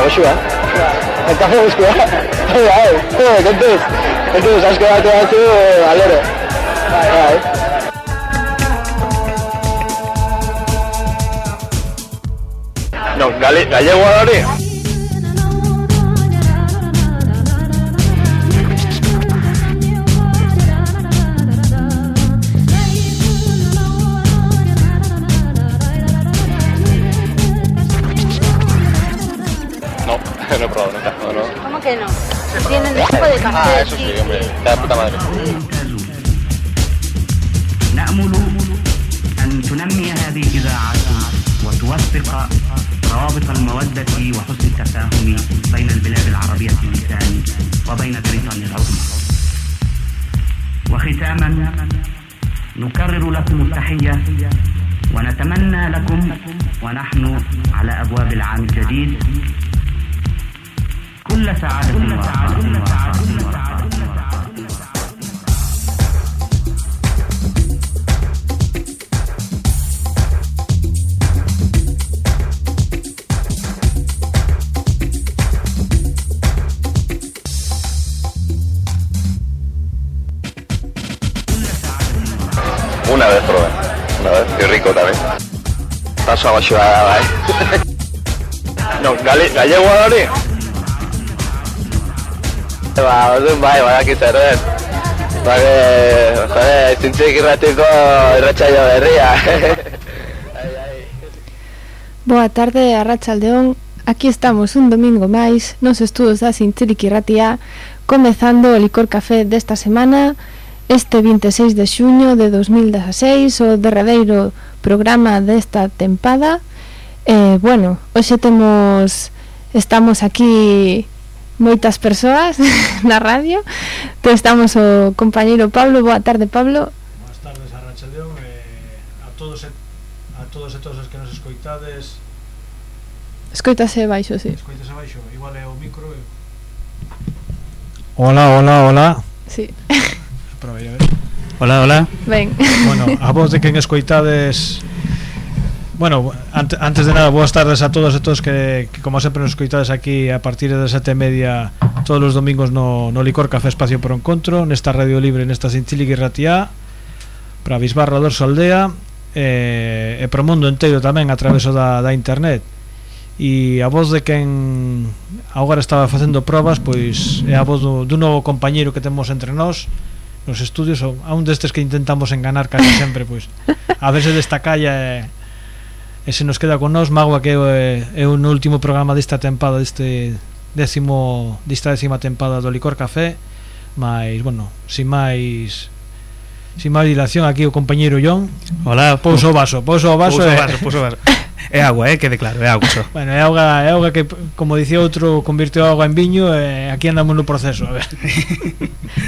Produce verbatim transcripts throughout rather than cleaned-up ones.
o Xúa. El café busco. Ai, joder, contes. Contes, has quedado todo tú, alero. Ai. No, gale, gallego ahora. No, no he probado nunca, no, no. ¿Cómo que no? Tienen tipo de café. Ah, eso sí, hombre, la puta madre. نأمل أن تنمي هذه الإذاعة وتوثق روابط المودة وحسن التفاهم بين البلاد العربية اللسان وبين بريطانيا العظمى. وختاما نكرر لكم التحية ونتمنى لكم ونحن على أبواب العام الجديد كل سعادة ورخاء. Una vez probé, una vez, qué rico también. Paso abajo a ¿eh? No, gale, gallego ahora. Va, vai, vai aquí ser, eh. Va que, joder, sin chiquirratico, Racha Llovería. Boa tarde, Arratsaldeón. Aquí estamos un domingo máis nos estudos da Sinchiriki Ratia, comezando o licor café desta semana. Este vinte e seis de xuño de dos mil dezasseis, o derradeiro programa desta tempada. Eh, bueno, hoxe temos, estamos aquí moitas persoas na radio. Estamos o compañeiro Pablo. Boa tarde, Pablo. Boas tardes, Arratsaldeón, eh, a todos e a todos e todas as que nos escoitades. Escoitase baixo, si. Sí. Escoitase baixo, igual é o micro. E... Hola, hola, hola. Sí. Hola, hola. Ben. Bueno, a voz de quen escoitades. Bueno, ante, antes de nada, boas tardes a todos e todos que, que como sempre nos escoitades aquí a partir das sete e media todos os domingos no, no Licor Café Espacio por Encontro, nesta radio libre, nesta Sinchiliki Ratia, para Bisbarra Dorso Aldea, e, e para o mundo inteiro tamén a través da, da internet. E a voz de quen agora estaba facendo probas, pois é a voz do, dun novo compañeiro que temos entre nós nos estudios, a un destes que intentamos enganar casi sempre, pois a ver se desta calla e, e se nos queda con nós. Magua que é, é o último programa desta tempada, deste décimo desta décima tempada do Licor Café, mas, bueno, sin máis sin máis dilación, aquí o compañeiro John. Hola, pouso o vaso, pouso o vaso, pouso o vaso, pouso o vaso. É agua, eh, quede claro, é agua só. Bueno, é auga, é auga que, como dicía outro, convirtiu a auga en viño, e aquí andamos no proceso, a ver.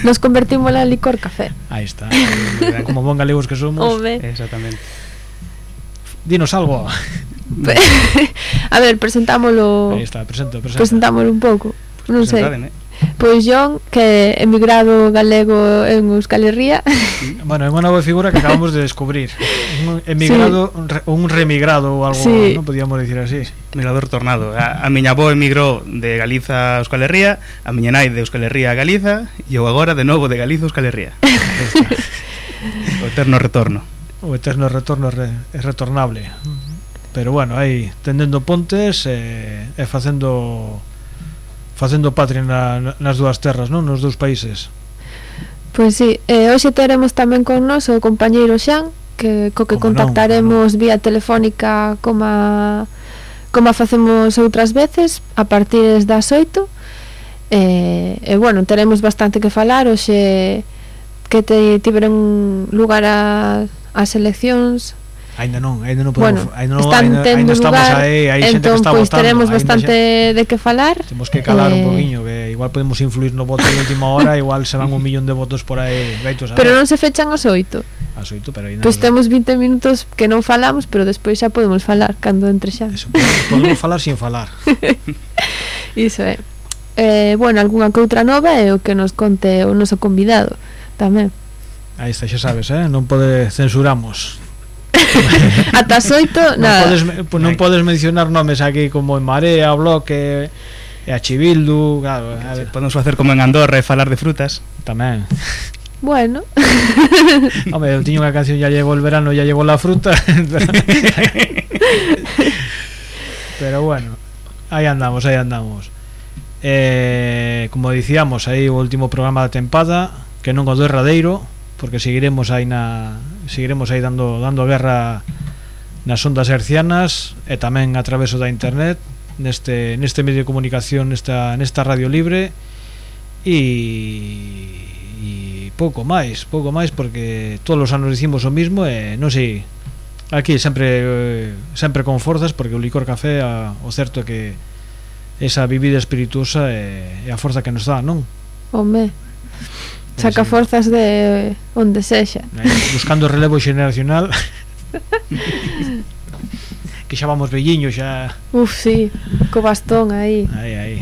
Nos convertimos en licor café. Aí está, como bon galegos que somos. Ove. Exactamente. Dinos algo. A ver, presentámoslo. Aí está, presento, presento. Presentámoslo un pouco. Non sei. Presentádeme. Pois John, que emigrado galego en Euskal Herria. Bueno, é unha nova figura que acabamos de descubrir. Un emigrado, sí. un, re, un remigrado ou algo, sí. Non podíamos dicir así. Migrador tornado. A, a miña avó emigrou de Galiza a Euskal Herria, a miña nai de Euskal Herria a Galiza, e eu agora de novo de Galiza a Euskal Herria. O eterno retorno. O eterno retorno re, é retornable. Pero bueno, aí tendendo pontes e, e facendo facendo patria na, nas dúas terras, non? Nos dous países. Pois si, eh, hoxe teremos tamén con nos o compañeiro Xan, que co que como contactaremos non, vía telefónica como como facemos outras veces a partir das oito. E, e bueno, teremos bastante que falar hoxe que te tiveron lugar a, as eleccións. Ainda non, ainda non podemos, bueno, ainda non, están ainda, tendo ainda estamos lugar, aí, aí xente entón, que está pois votando. Teremos bastante xe... de que falar. Temos que calar eh... un poquinho, que igual podemos influir no voto de última hora, igual se van un millón de votos por aí, veitos a Pero non se fechan as oito. As oito, pero aí Pois temos vinte minutos que non falamos, pero despois xa podemos falar cando entre xa. Eso, podemos, podemos falar sin falar. Iso é. Eh, bueno, algunha que outra nova é o que nos conte o noso convidado tamén. Aí está, xa sabes, eh? Non pode censuramos. Ata as oito, non nada. podes, pues non podes mencionar nomes aquí como en Marea, Bloque e a Chibildu, claro, a ver, Podemos facer como en Andorra e falar de frutas. tamén. Bueno. Home, eu tiño unha canción, ya llegó el verano, ya llegó la fruta. pero, pero bueno, aí andamos, aí andamos. Eh, como dicíamos, aí o último programa da tempada, que non o derradeiro, porque seguiremos aí na seguiremos aí dando dando guerra nas ondas hercianas e tamén a traveso da internet, neste neste medio de comunicación, nesta nesta radio libre e e pouco máis, pouco máis porque todos os anos dicimos o mismo e non sei, aquí sempre sempre con forzas, porque o licor café a, o certo é que esa bebida espirituosa é, é a forza que nos dá, non? Home, saca forzas de onde sexa. Buscando relevo xeneracional. Que xa vamos velliños xa. Uf, sí, co bastón aí. Aí, aí.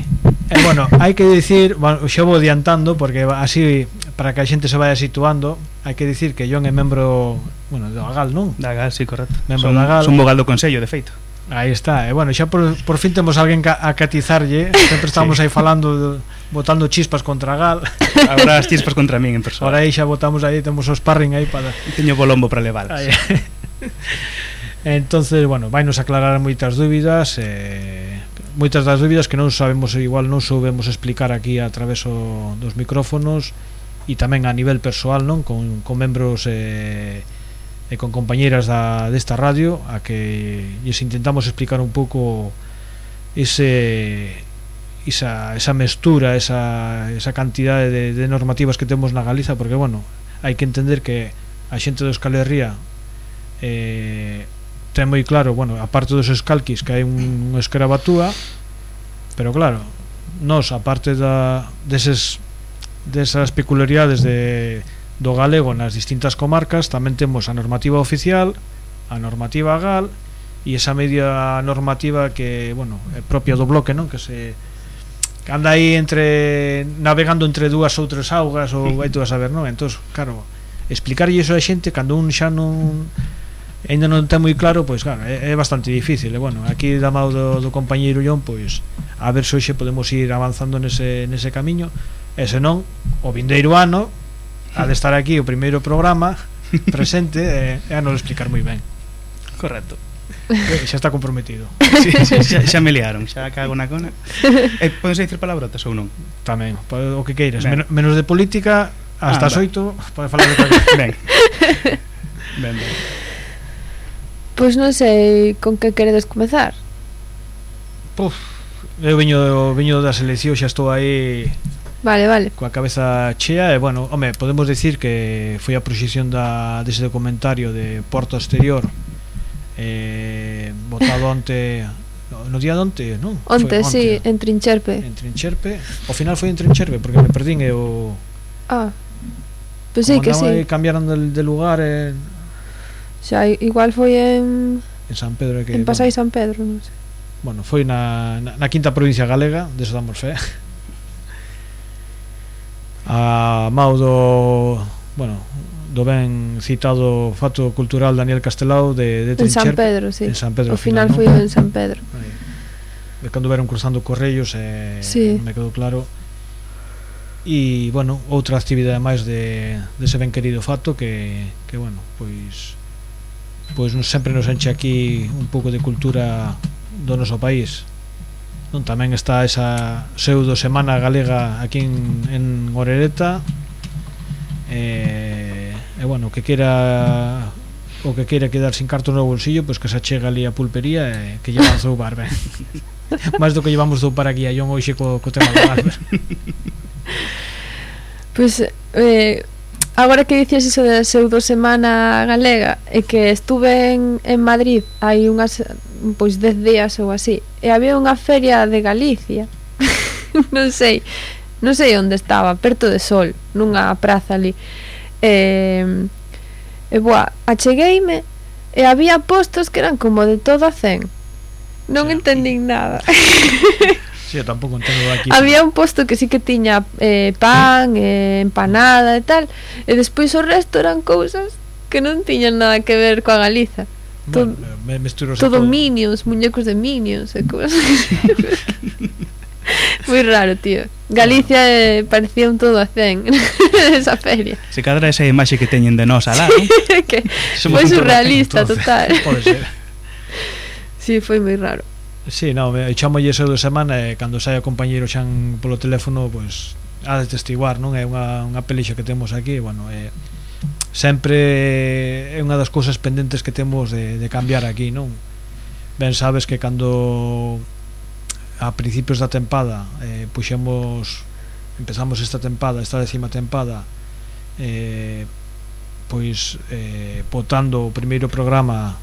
E bueno, hai que dicir, bueno, xa vou adiantando porque así para que a xente se vaya situando, hai que dicir que John é membro, bueno, do Agal, non? Da Gal, sí, correcto. Membro Son, da Gal. son vogal do Consello, de feito. Aí está, e bueno, xa por, por fin temos alguén a catizarlle. Sempre estamos Sí. aí falando, botando chispas contra a Gal. Agora as chispas contra min en persona. Ahora aí xa botamos aí, temos o sparring aí para... Teño bolombo para levalas. Aí. Entonces, bueno, vainos aclarar moitas dúbidas, eh, moitas das dúbidas que non sabemos, igual non soubemos explicar aquí a través o, dos micrófonos e tamén a nivel persoal, non, con, con membros eh, e con compañeiras da, desta radio, a que lles intentamos explicar un pouco ese esa, esa mestura, esa, esa cantidade de, de normativas que temos na Galiza, porque, bueno, hai que entender que a xente do Euskal Herria eh, ten moi claro, bueno, aparte dos escalquis, que hai un, un escarabatúa, pero claro, nós, aparte da, deses, desas peculiaridades de, do galego nas distintas comarcas, tamén temos a normativa oficial, a normativa gal e esa media normativa que, bueno, é propia do bloque, non? Que se que anda aí entre navegando entre dúas ou tres augas ou vai tú a saber, non? Entón, claro, explicarlle iso a xente cando un xa non ainda non ten moi claro, pois claro, é, é bastante difícil. E bueno, aquí da mão do, do compañeiro John, pois a ver se hoxe podemos ir avanzando nese, nese camiño, e se non, o vindeiro ano ha de estar aquí o primeiro programa presente e, e a nos explicar moi ben. Correcto. E xa está comprometido. Sí, sí, xa, xa me liaron, xa cago na cona. E podes dicir palabrotas ou non? Tamén, o que queiras, Ben. Men, menos de política, hasta Ah, as oito pode falar de cualquier. Ben. Ben, ben. Pois non sei con que queredes comezar. Puf, eu viño, viño da selección, xa estou aí Vale, vale. coa cabeza chea e bueno, home, podemos decir que foi a proxección da, dese documentario de Porto Exterior eh, votado onte no día de onte, non? Onte, Foi sí, en Trincherpe. en Trincherpe, ao final foi en Trincherpe porque me perdín e o Ah, pois sí, como que andaba aí, sí. cambiaron de, de lugar en, Xa, igual foi en en San Pedro que, en Pasai San Pedro, non sei. bueno, foi na, na, na quinta provincia galega, deso damos fe. A mau do, bueno, do ben citado fato cultural Daniel Castelao de, de En San Trincherpe. Pedro, sí. En San Pedro, Ao final ¿no? foi en San Pedro. Aí. De cando veron cruzando correios e Sí. non me quedou claro. E, bueno, outra actividade máis de dese ben querido fato que, que bueno, pois pois nos, sempre nos enche aquí un pouco de cultura do noso país. Non, tamén está esa pseudo semana galega aquí en, en Orereta e, e bueno, que quera o que queira quedar sin cartos no bolsillo, pois que se achega ali a pulpería e que lleva a zoubar ben. Máis do que llevamos zoupar aquí a John hoxe co, co tema do Albert. Pois eh, agora que dicías iso da pseudo semana galega, é que estuve en, en Madrid hai unhas pois dez días ou así, e había unha feria de Galicia. non sei, non sei onde estaba, perto de Sol, nunha praza ali. E, e boa, achegueime e había postos que eran como de todo a cen. Non Sí. entendín nada. Sí, eu tampouco entendo aquí. Había un posto que sí que tiña eh, pan, eh, empanada e tal, e despois o resto eran cousas que non tiñan nada que ver coa Galiza. Bueno, me mesturo todo Minions, muñecos de Minions e cosas. Moi raro, tío. Galicia eh, parecía un todo a cen esa feria. Se cadra esa imaxe que teñen de nós alá, non? Que Somos foi un todo surrealista, entonces. total. Pode ser. Sí, foi moi raro. Sí, no, me chamo ese de semana e cando sai o compañeiro xan polo teléfono, pois ha de testiguar, non? É unha, unha pelixa que temos aquí, bueno, é sempre é unha das cousas pendentes que temos de, de cambiar aquí, non? Ben sabes que cando a principios da tempada eh, puxemos empezamos esta tempada, esta décima tempada eh, pois eh, votando o primeiro programa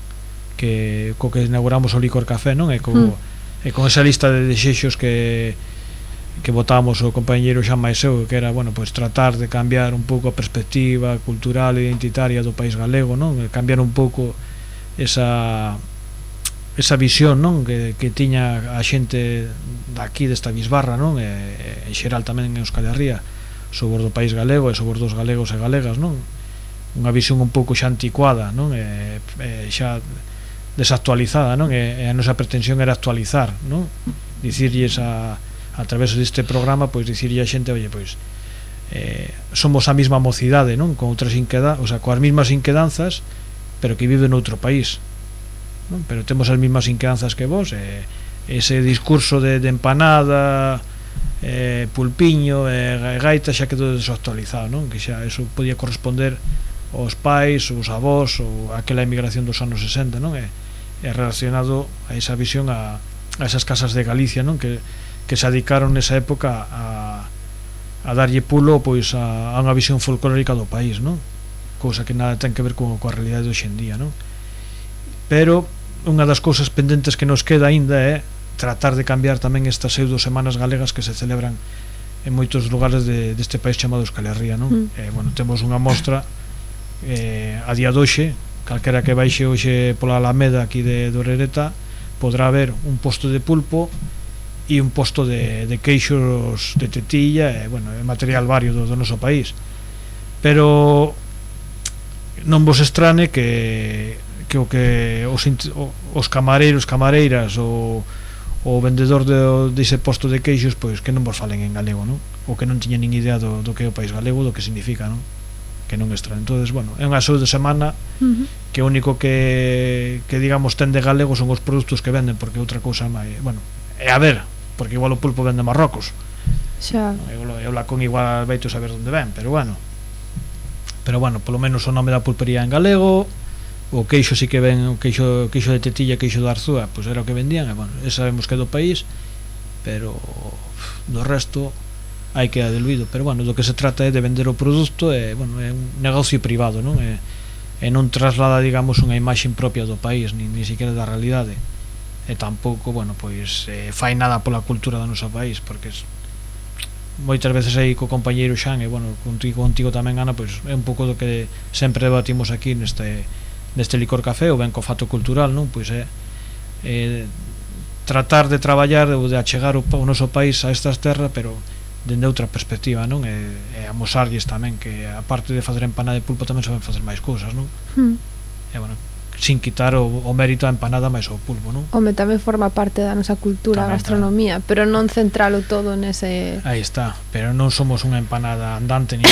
que co que inauguramos o Licor Café, non? E co, mm. e con esa lista de desexos que que votamos o compañeiro Xan Maiseu, que era, bueno, pois tratar de cambiar un pouco a perspectiva cultural e identitaria do país galego, non? E cambiar un pouco esa esa visión, non, que, que tiña a xente daqui desta bisbarra, non, e, e en xeral tamén en Euskal Herria sobre o país galego e sobre os galegos e galegas, non, unha visión un pouco xa anticuada, non, e, e xa desactualizada, non, e, e a nosa pretensión era actualizar, non, dicirlles a, a través deste programa, pois dicirlle a xente, oye, pois eh, somos a mesma mocidade, non, con outras inquedanzas, o sea, coas mesmas inquedanzas, pero que vive noutro país, non? Pero temos as mesmas inquedanzas que vos, e ese discurso de, de empanada, eh, pulpiño e eh, gaita xa quedou desactualizado, non? Que xa eso podía corresponder aos pais, os avós ou aquela emigración dos anos sesenta, non? E, e relacionado a esa visión a, a esas casas de Galicia, non? Que, que se dedicaron nesa época a, a darlle pulo, pois, a, a unha visión folclórica do país, non? Cousa que nada ten que ver co, coa realidade de hoxendía, non? Pero unha das cousas pendentes que nos queda aínda é tratar de cambiar tamén estas pseudo semanas galegas que se celebran en moitos lugares de, deste país chamado Euskal Herria, non? Mm. Eh, bueno, temos unha mostra eh, a día doxe, calquera que baixe hoxe pola Alameda aquí de Dorereta podrá ver un posto de pulpo e un posto de, de queixos de tetilla e, bueno, é material vario do, do noso país, pero non vos estrane que que o que os, os camareiros, camareiras ou o vendedor de, dese posto de queixos, pois que non vos falen en galego, non? Ou que non tiña nin idea do, do que é o país galego, do que significa, non? Que non extra. Entonces, bueno, é unha saúde de semana uh-huh. que o único que, que digamos ten de galego son os produtos que venden, porque outra cousa máis, bueno, é a ver, porque igual o pulpo vende Marrocos. Xa. Eu, eu la con igual veito saber onde ven, pero bueno. Pero bueno, polo menos o nome da pulpería en galego. O queixo sí que ven, o queixo, queixo de tetilla, queixo de Arzúa, pois pues era o que vendían, e bueno, e sabemos que é do país, pero do resto hai que diluído, pero bueno, do que se trata é de vender o produto, e bueno, é un negocio privado, non? E, e non traslada, digamos, unha imaxe propia do país, ni, ni siquiera da realidade, e tampouco, bueno, pois eh, fai nada pola cultura do noso país, porque es, moitas veces aí co compañeiro Xan, e bueno, contigo, contigo tamén, Ana, pois é un pouco do que sempre debatimos aquí neste neste Licor Café, ou ben co fato cultural, non? Pois é, é tratar de traballar ou de achegar o, o noso país a estas terras, pero dende outra perspectiva, non? E, e amosarlles tamén que a parte de facer empanada de pulpo tamén saben facer máis cousas, non? Hmm. E bueno, sin quitar o, o mérito a empanada máis o pulpo, non? Home, tamén forma parte da nosa cultura, tamén, a gastronomía, tamén. Pero non centralo todo nese... Aí está, pero non somos unha empanada andante ni...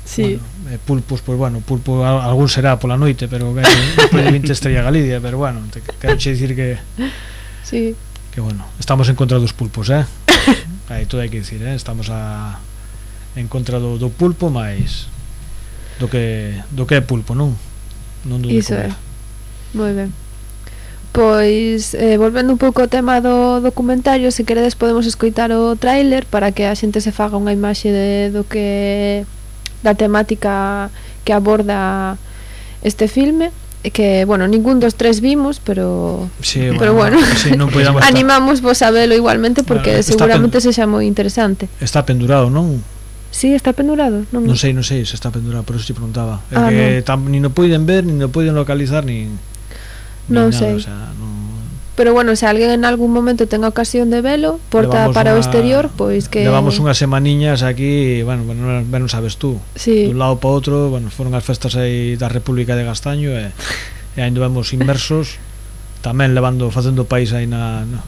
Sí. Bueno, eh, pulpos, pois pues, bueno, pulpo algún será pola noite, pero ben, despois de vinte estrella Galicia, pero bueno, te quero che dicir que sí. Que bueno, estamos en contra dos pulpos, eh? Aí todo hai que dicir, eh? Estamos a en contra do, do pulpo, máis do que do que é pulpo, non? Non do de Iso é. Moi ben. Pois, eh, volvendo un pouco ao tema do documentario, se queredes podemos escoitar o tráiler para que a xente se faga unha imaxe de, do que da temática que aborda este filme, que, bueno, ningún dos tres vimos, pero sí, pero bueno, bueno sí, non animamos vos a velo igualmente, porque bueno, seguramente pen... sexa moi interesante. Está pendurado, non? Sí, está pendurado. Non, non sei, non sei se está pendurado, por eso te preguntaba. É ah, que tam, ni no poden ver, ni no poden localizar, ni non nada, sei. O sea, non, Pero bueno, se alguén en algún momento tenga ocasión de velo, porta Levamos para o unha- exterior, pois que Levamos unhas semaniñas aquí, bueno, bueno, ben sabes tú, Sí. dun lado para outro, bueno, foron as festas aí da República de Gastaño e, e ainda vemos inmersos, tamén levando, facendo país aí na, na,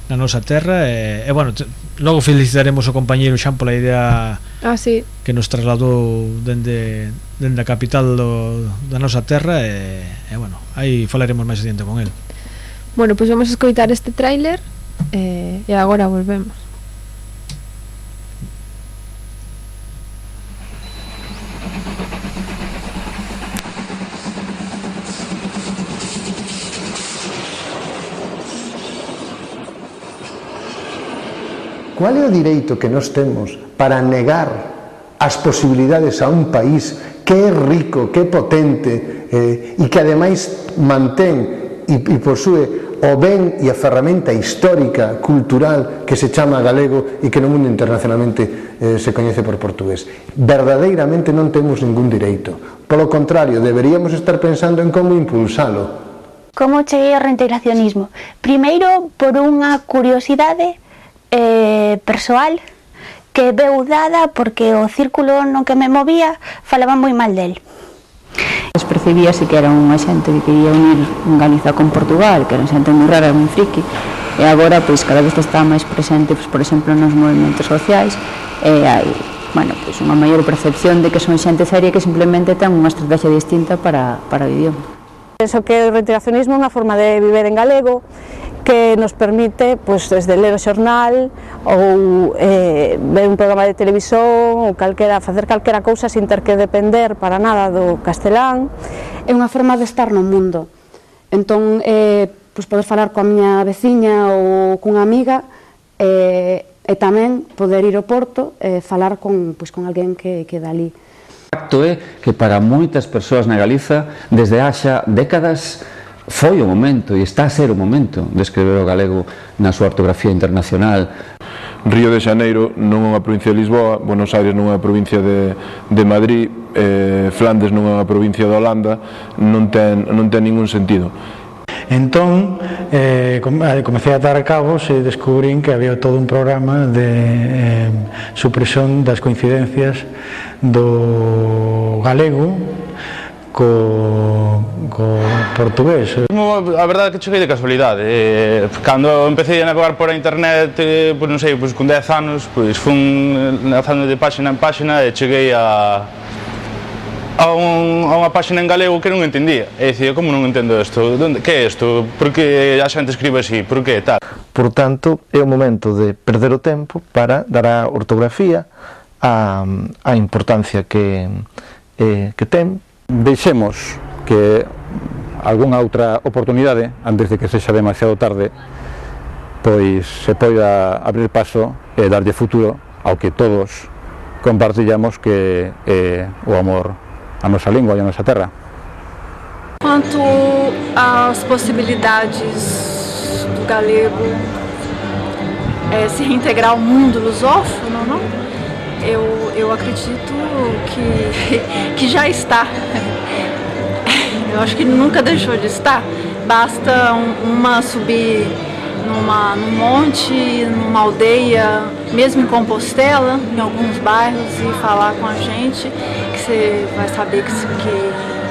na nosa terra e, e bueno, te, logo felicitaremos o compañeiro Xan pola idea Ah, sí. que nos trasladou dende, dende a capital do, da nosa terra e, e bueno, aí falaremos máis adiante con el. Bueno, pois vamos a escoitar este tráiler eh, e agora volvemos. Cual é o direito que nós temos para negar as posibilidades a un país que é rico, que é potente eh, e que ademais mantén e, e posúe o ben e a ferramenta histórica, cultural que se chama galego e que no mundo internacionalmente eh, se coñece por portugués? Verdadeiramente non temos ningún direito. Polo contrario, deberíamos estar pensando en como impulsalo. Como cheguei ao reintegracionismo? Primeiro, por unha curiosidade eh, persoal que veu dada porque o círculo no que me movía falaba moi mal del. Percibíase que era unha xente que quería unir Galiza con Portugal, que era xente moi rara, moi friki, e agora, pois, cada vez está máis presente, pois, por exemplo, nos movimentos sociais, e hai, bueno, pois, unha maior percepción de que son xente seria que simplemente ten unha estrategia distinta para, para o idioma. Penso que o reintegracionismo é unha forma de viver en galego que nos permite, pois, desde ler o xornal ou eh, ver un programa de televisión ou calquera, facer calquera cousa sin ter que depender para nada do castelán. É unha forma de estar no mundo. Entón, eh, pois poder falar coa miña veciña ou cunha amiga eh, e tamén poder ir ao Porto e eh, falar con, pois, con alguén que, que dali. O facto é que para moitas persoas na Galiza, desde haxa décadas, foi o momento e está a ser o momento de escrever o galego na súa ortografía internacional. Río de Xaneiro non é unha provincia de Lisboa, Buenos Aires non é unha provincia de, de Madrid, eh, Flandes non é unha provincia de Holanda, non ten, non ten ningún sentido. Entón, eh, comecei a dar cabos e descubrín que había todo un programa de eh, supresión das coincidencias do galego co, co portugués. A verdade é que cheguei de casualidade. Eh, cando empecé a navegar por a internet, eh, pois non sei, pois con dez anos, pois fun navegando de páxina en páxina e cheguei a a, un, a unha páxina en galego que non entendía. E dicía, como non entendo isto? Donde, que é isto? Por que a xente escribe así? Por que tal? Por tanto, é o momento de perder o tempo para dar a ortografía a, a importancia que, eh, que ten. Deixemos que algunha outra oportunidade, antes de que sexa demasiado tarde, pois se poida abrir paso e darlle futuro ao que todos compartillamos, que é o amor á nosa lingua e á nosa terra. Quanto às possibilidades do galego é, se reintegrar ao mundo lusófono, não? Eu, eu acredito que, que já está. Eu acho que nunca deixou de estar. Basta uma subir numa, num monte, numa aldeia, mesmo em Compostela, em alguns bairros, e falar com a gente, que você vai saber que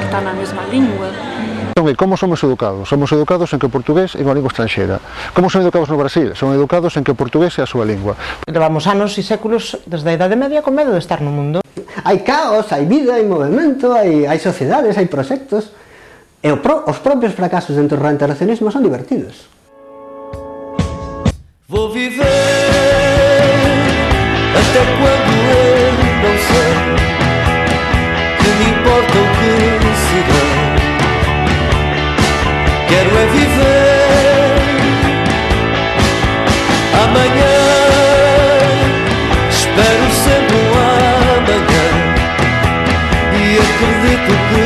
está na mesma língua. Entón, como somos educados? Somos educados en que o portugués é unha lingua estranxeira. Como son educados no Brasil? Son educados en que o portugués é a súa lingua. Levamos anos e séculos desde a Idade Media con medo de estar no mundo. Hai caos, hai vida, hai movimento, hai, hai sociedades, hai proxectos. E o pro, os propios fracasos dentro do reintegracionismo son divertidos. Vou viver até quando eu não sei, que me importa o que será. Quero é viver amanhã, espero sempre um amanhã e acredito que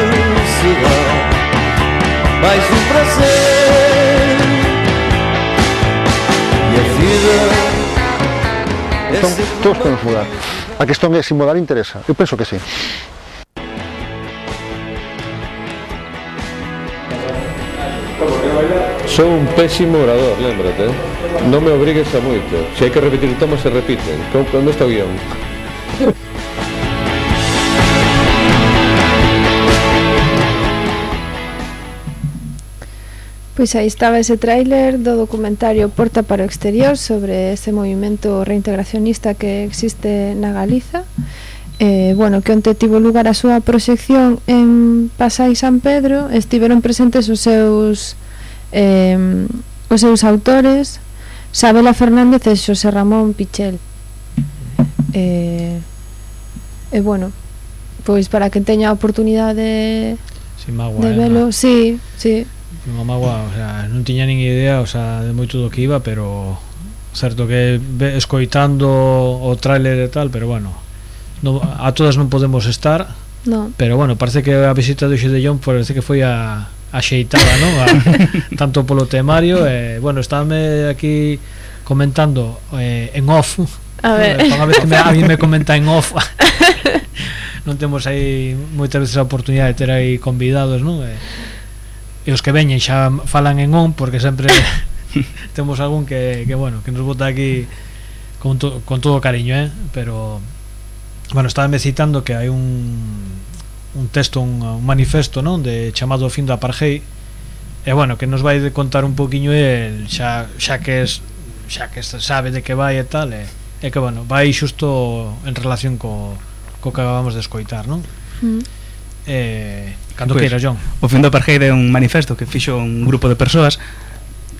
será mais um prazer e a vida. Entón, todos podemos mudar. A questón é se mudar interesa. Eu penso que sí. Sou un pésimo orador, lémbrate, eh? Non me obrigues a moito. Se hai que repetir tomas, se repiten. Onde está o guión? Pois aí estaba ese tráiler do documentario Porta para o Exterior sobre ese movimento reintegracionista que existe na Galiza. Eh, bueno, que onte tivo lugar a súa proxección en Pasai San Pedro. Estiveron presentes os seus eh, os seus autores Sabela Fernández e Xosé Ramón Pichel. E eh, eh, bueno, pois para que teña a oportunidade Sin magua, de eh, velo, sí, sí. Unha magua, o sea, non tiña nin idea, o sea, de moito do que iba, pero certo que ve, escoitando o tráiler e tal, pero bueno, no, a todas non podemos estar. No. Pero bueno, parece que a visita do Xedellón parece que foi a axeitada, non? A, tanto polo temario, e eh, bueno, estáme aquí comentando eh, en off. A ver. Unha vez que me, a mí me comenta en off. Non temos aí moitas veces a oportunidade de ter aí convidados, non? E, e os que veñen xa falan en on, porque sempre temos algún que, que bueno, que nos bota aquí con, to, con todo cariño, eh? Pero bueno, estábame citando que hai un un texto, un, un manifesto, non? De chamado o fin do apartheid, e bueno, que nos vai de contar un poquinho el, xa, xa que es xa que sabe de que vai e tal, e, e que bueno, vai xusto en relación co, co que acabamos de escoitar, non? Mm. Eh, cando pues, queira, John. O fin do apartheid é un manifesto que fixo un grupo de persoas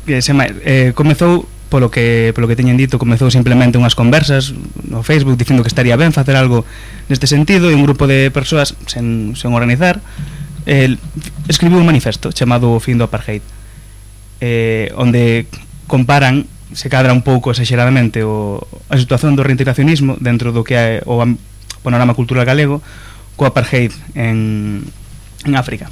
que se eh, comezou polo que polo que teñen dito, comezou simplemente unhas conversas no Facebook dicindo que estaría ben facer algo neste sentido, e un grupo de persoas sen, sen organizar eh, escribiu un manifesto chamado O fin do apartheid, eh, onde comparan, se cadra un pouco exageradamente o, a situación do reintegracionismo dentro do que é o panorama cultural galego co apartheid en, en África.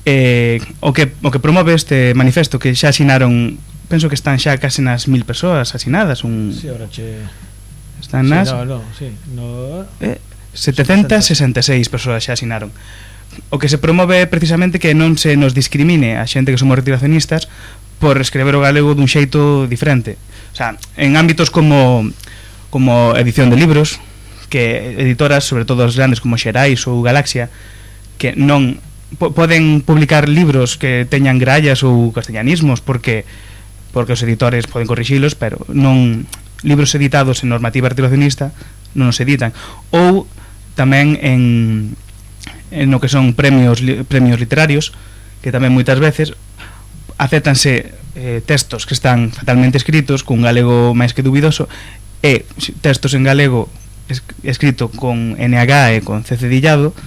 Eh, o que o que promove este manifesto, que xa asinaron, penso que están xa case nas mil persoas asinadas, un sí, ahora che sí, están nas no, no, sí, no, eh, setecentas sesenta e seis persoas xa asinaron. O que se promove é precisamente que non se nos discrimine a xente que somos reintegracionistas por escrever o galego dun xeito diferente. O sea, en ámbitos como como edición de libros, que editoras, sobre todo as grandes como Xerais ou Galaxia, que non po poden publicar libros que teñan grallas ou castellanismos porque porque os editores poden corrixilos, pero non libros editados en normativa reintegracionista non os editan. Ou tamén en en o que son premios li, premios literarios, que tamén moitas veces acéptanse eh, textos que están fatalmente escritos con galego máis que dubidoso, e textos en galego es, escrito con N H e con C cedillado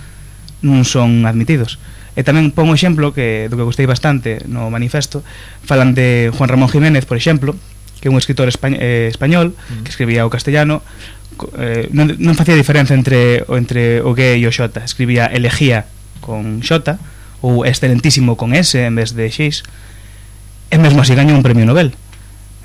non son admitidos. E tamén pon un exemplo que do que gostei bastante no manifesto, falan de Juan Ramón Jiménez, por exemplo, que é un escritor espa eh, español que escribía o castellano, eh, non, non facía diferenza entre o, entre o G e o X, escribía elegía con X ou excelentísimo con S en vez de X, e mesmo así gañou un premio Nobel.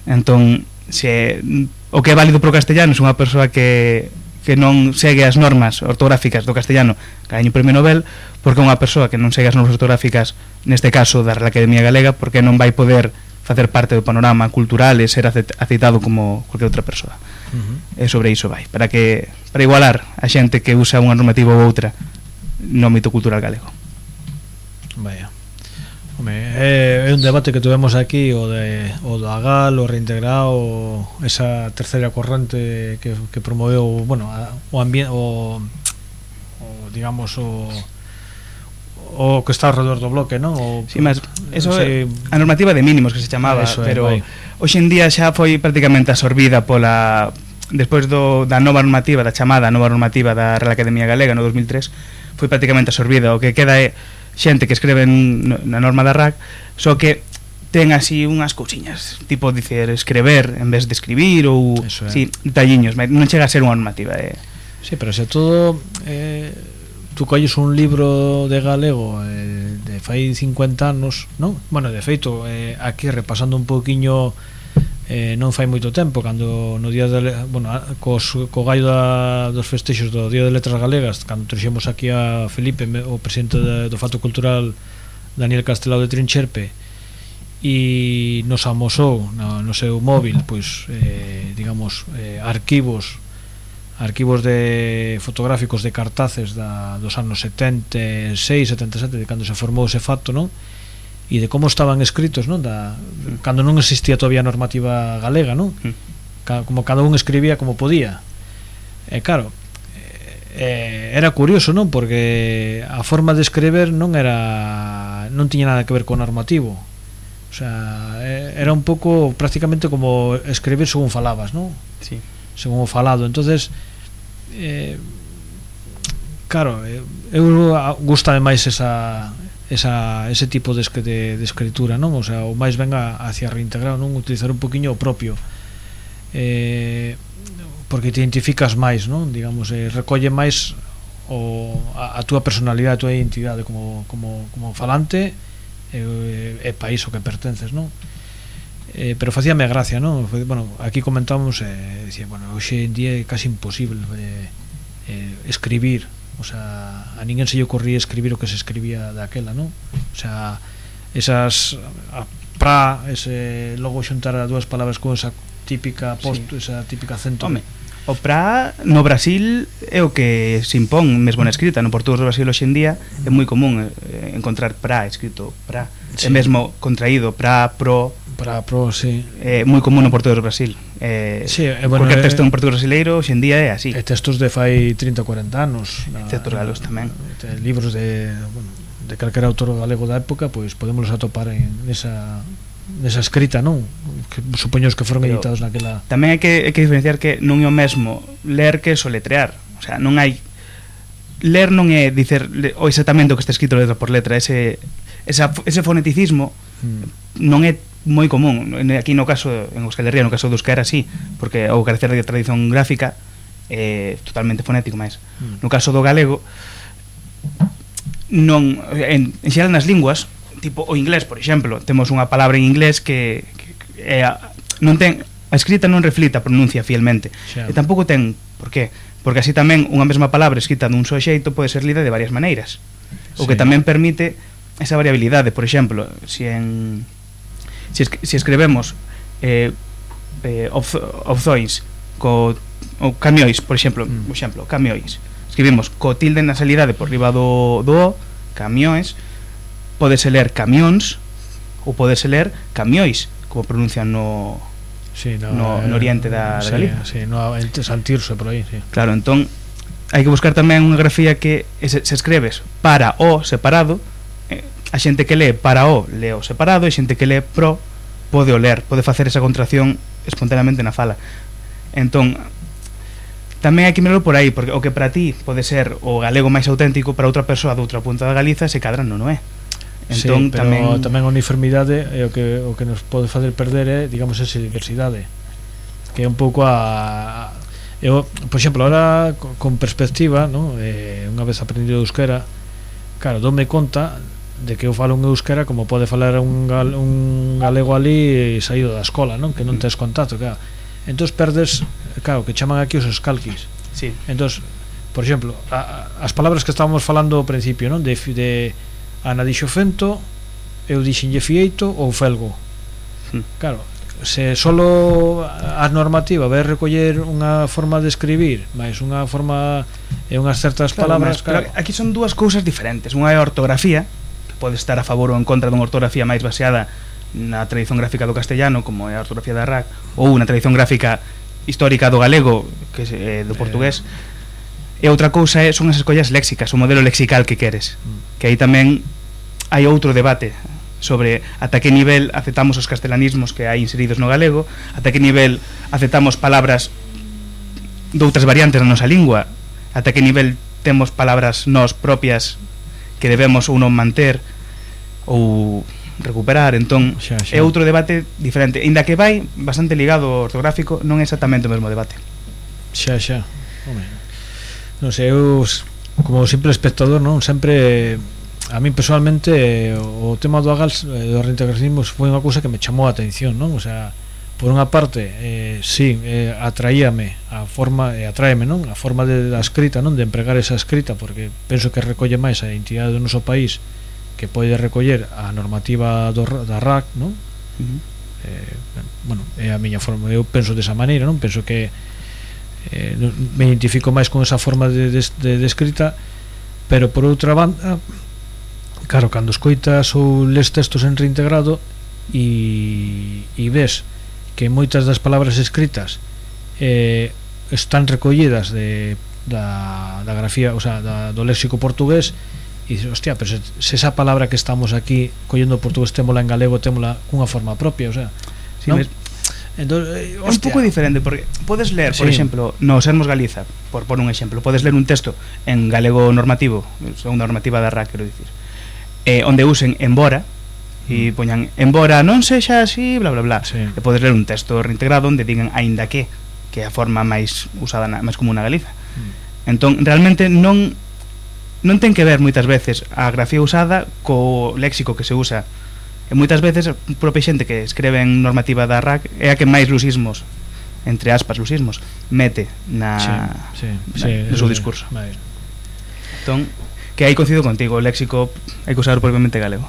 Entón, se o que é válido pro castellano é unha persoa que que non segue as normas ortográficas do castellano, gaña un premio Nobel, porque unha persoa que non segue as normas ortográficas, neste caso da Real Academia Galega, porque non vai poder facer parte do panorama cultural e ser aceitado como cualquier outra persoa. Uh-huh. E sobre iso vai, para que para igualar a xente que usa unha normativa ou outra no ámbito cultural galego. Vaya. Home, é, é un debate que tuvemos aquí, o de o do Agal, o reintegrado, esa terceira corrente que, que promoveu, bueno, a, o ambiente, o, o digamos o o que está alrededor do bloque, ¿no? O, sí, mas eso sí, é a normativa de mínimos que se chamaba, eso pero é, hoxe en día xa foi prácticamente absorbida pola despois do da nova normativa, da chamada nova normativa da Real Academia Galega no dos mil tres, foi prácticamente absorbida. O que queda é xente que escreve na norma da R A C, só que ten así unhas cousiñas, tipo dicer escrever en vez de escribir ou sí, detalliños, non chega a ser unha normativa, eh. Sí, pero se todo eh, tú colles un libro de galego eh, de fai cincuenta anos, non? Bueno, de feito, eh, aquí repasando un pouquiño, eh, non fai moito tempo, cando no día de, bueno, cos, co gallo da, dos festexos do Día de Letras Galegas, cando trouxemos aquí a Felipe, o presidente de, do Fato Cultural Daniel Castelao de Trincherpe, e nos amosou no, no seu móvil, pois, eh, digamos, eh, arquivos arquivos de fotográficos de cartaces da, dos anos setenta e seis, setenta e sete, de cando se formou ese facto, non? E de como estaban escritos, non? Da, cando non existía todavía a normativa galega, non? Ca, como cada un escribía como podía. E claro, eh, era curioso, non? Porque a forma de escrever non era non tiña nada que ver co normativo. O sea, era un pouco prácticamente como escribir según falabas, non? Sí. Según o falado. Entonces, eh, claro, eu gustame máis esa, esa ese tipo de, de, de escritura, non? O sea, o máis venga hacia reintegrar, non? Utilizar un poquinho o propio, eh, porque te identificas máis, non? Digamos, eh, recolle máis o, a, a túa personalidade, a túa identidade como, como, como falante e, e país o que pertences, non? Eh, pero facíame gracia, non? Bueno, aquí comentamos, eh, decía, bueno, hoxe en día é casi imposible eh, eh, escribir, o sea, a ninguén se lle ocurría escribir o que se escribía daquela, non? O sea, esas a pra, ese logo xuntar as dúas palabras con esa típica post, sí. esa típica acento. Home, o pra no Brasil é o que se impón mesmo na escrita, no portugués do Brasil hoxe en día é moi común eh, encontrar pra escrito pra, sí. É mesmo contraído pra, pro, pra, pro, sí. É moi común no portugués do Brasil. Eh, sí, eh, bueno, porque eh, texto en portugués brasileiro hoxe en día é así. E textos de fai trinta ou cuarenta anos, na, textos galegos tamén. De libros de, bueno, de calquera autor galego da época, pois pues, podemos atopar en esa nesa escrita, non? Que supoños que foron pero editados naquela. Tamén hai que, hai que diferenciar que non é o mesmo ler que soletrear. O sea, non hai ler non é dicer o exactamente o que está escrito letra por letra, ese esa, ese foneticismo mm. non é moi común. Aquí no caso en Euskal Herria, no caso do euskera sí, porque ao carecer de tradición gráfica é totalmente fonético, máis. Mm. No caso do galego non en, en xeral nas linguas tipo o inglés, por exemplo, temos unha palabra en inglés que, que, que é, non ten a escrita non reflita a pronuncia fielmente. Xa. E tampouco ten, por qué? Porque así tamén unha mesma palabra escrita dun só xeito pode ser lida de varias maneiras. O sí. que tamén permite esa variabilidade, por exemplo, si en si, es, si escrevemos eh, eh, opzois co ou camiois, por exemplo, mm. por exemplo, camiois. Escribimos co tilde na salidade por riba do do o, camioes. Podese ler camións ou podese ler camiois, como pronuncian no sí, no, no, no oriente da, da sí, Galicia. Sí, no, Santirso por aí, sí. Claro, entón hai que buscar tamén unha grafía que se, se escreves para o separado, eh, a xente que lee para o lee o separado, e a xente que lee pro pode o ler, pode facer esa contracción espontaneamente na fala. Entón tamén hai que mirarlo por aí, porque o que para ti pode ser o galego máis auténtico, para outra persoa de outra punta da Galiza se cadra non, non é. Entón, sí, pero tamén, tamén a uniformidade é o que, o que nos pode facer perder é, digamos, esa diversidade, que é un pouco a, a eu, por exemplo, ahora con perspectiva, ¿no? Eh, unha vez aprendido euskera, claro, dome conta de que eu falo un euskera como pode falar un, gal, un galego ali saído da escola, non? Que non tes contacto, claro. Entón perdes, claro, que chaman aquí os escalquis. Sí. Entón, por exemplo, a, a, as palabras que estábamos falando ao principio, non? De, de Ana dixo fento, eu dixenlle fieito ou felgo. Hmm. Claro, se solo a normativa vai recoller unha forma de escribir, máis unha forma e unhas certas claro, palabras, mas, claro. Aquí son dúas cousas diferentes. Unha é a ortografía, que pode estar a favor ou en contra dunha ortografía máis baseada na tradición gráfica do castellano, como é a ortografía da R A C, ou unha tradición gráfica histórica do galego, que é do portugués. Eh, E outra cousa é, son as escollas léxicas, o modelo lexical que queres, mm. que aí tamén hai outro debate sobre ata que nivel aceptamos os castelanismos que hai inseridos no galego, ata que nivel aceptamos palabras de outras variantes na nosa lingua, ata que nivel temos palabras nós propias que debemos ou non manter ou recuperar. Entón xa, xa. É outro debate diferente, ainda que vai bastante ligado ao ortográfico, non é exactamente o mesmo debate. Xa, xa. Home. Non sei, eu como simple espectador, non, sempre a mí personalmente o tema do Agals, do reintegracionismo foi unha cousa que me chamou a atención, non? O sea, por unha parte, eh, sí, eh, atraíame a forma, e eh, atráeme, non? A forma de, da escrita, non? De empregar esa escrita, porque penso que recolle máis a identidade do noso país que pode recoller a normativa do, da R A C, non? Uh-huh. Eh, bueno, é a miña forma, eu penso desa maneira, non? Penso que eh, me identifico máis con esa forma de, de, de, de escrita, pero por outra banda, claro, cando escoitas ou les textos en reintegrado e, e ves que moitas das palabras escritas eh, están recollidas de, da, da grafía, o sea, da, do léxico portugués, e dices, hostia, pero se, se esa palabra que estamos aquí collendo portugués témola en galego, témola cunha forma propia, o sea, sí, ¿no? Mes... Entonces, é un pouco diferente porque podes ler, por sí. exemplo, no Sermos Galiza, por por un exemplo, podes ler un texto en galego normativo, segunda normativa da R A C, quero dicir, eh, onde usen embora e poñan embora non sexa así, bla bla bla. Sí. E podes ler un texto reintegrado onde digan aínda que, que é a forma máis usada na, máis común na Galiza. Mm. Entón, realmente non non ten que ver moitas veces a grafía usada co léxico que se usa. E moitas veces a propia xente que escreve en normativa da R A C é a que máis lusismos, entre aspas lusismos, mete na, sí, sí, na sí, no seu sí, discurso. Vale. Entón, que aí coincido contigo, o léxico hai que usar propiamente galego.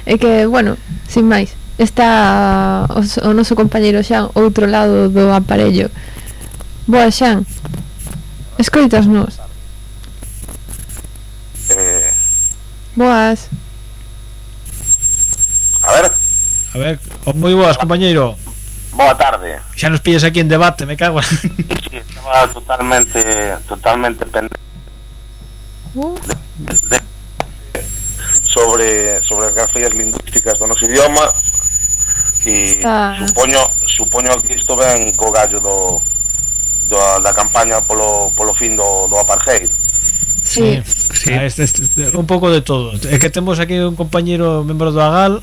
É que, bueno, sin máis, está o, o noso compañeiro Xan outro lado do aparello. Boa, Xan, escoitasnos. Eh... Boas. A ver. A ver, moi boas, compañeiro. Boa tarde. Xa nos pillas aquí en debate, me cago. Sí, estaba totalmente totalmente pendiente uh. de, de, sobre sobre as grafías lingüísticas do noso idioma e ah. supoño supoño que isto ven co gallo do, do da campaña polo polo fin do, do apartheid. Sí, sí. Ah, este, este, un pouco de todo. É que temos aquí un compañeiro membro do AGAL.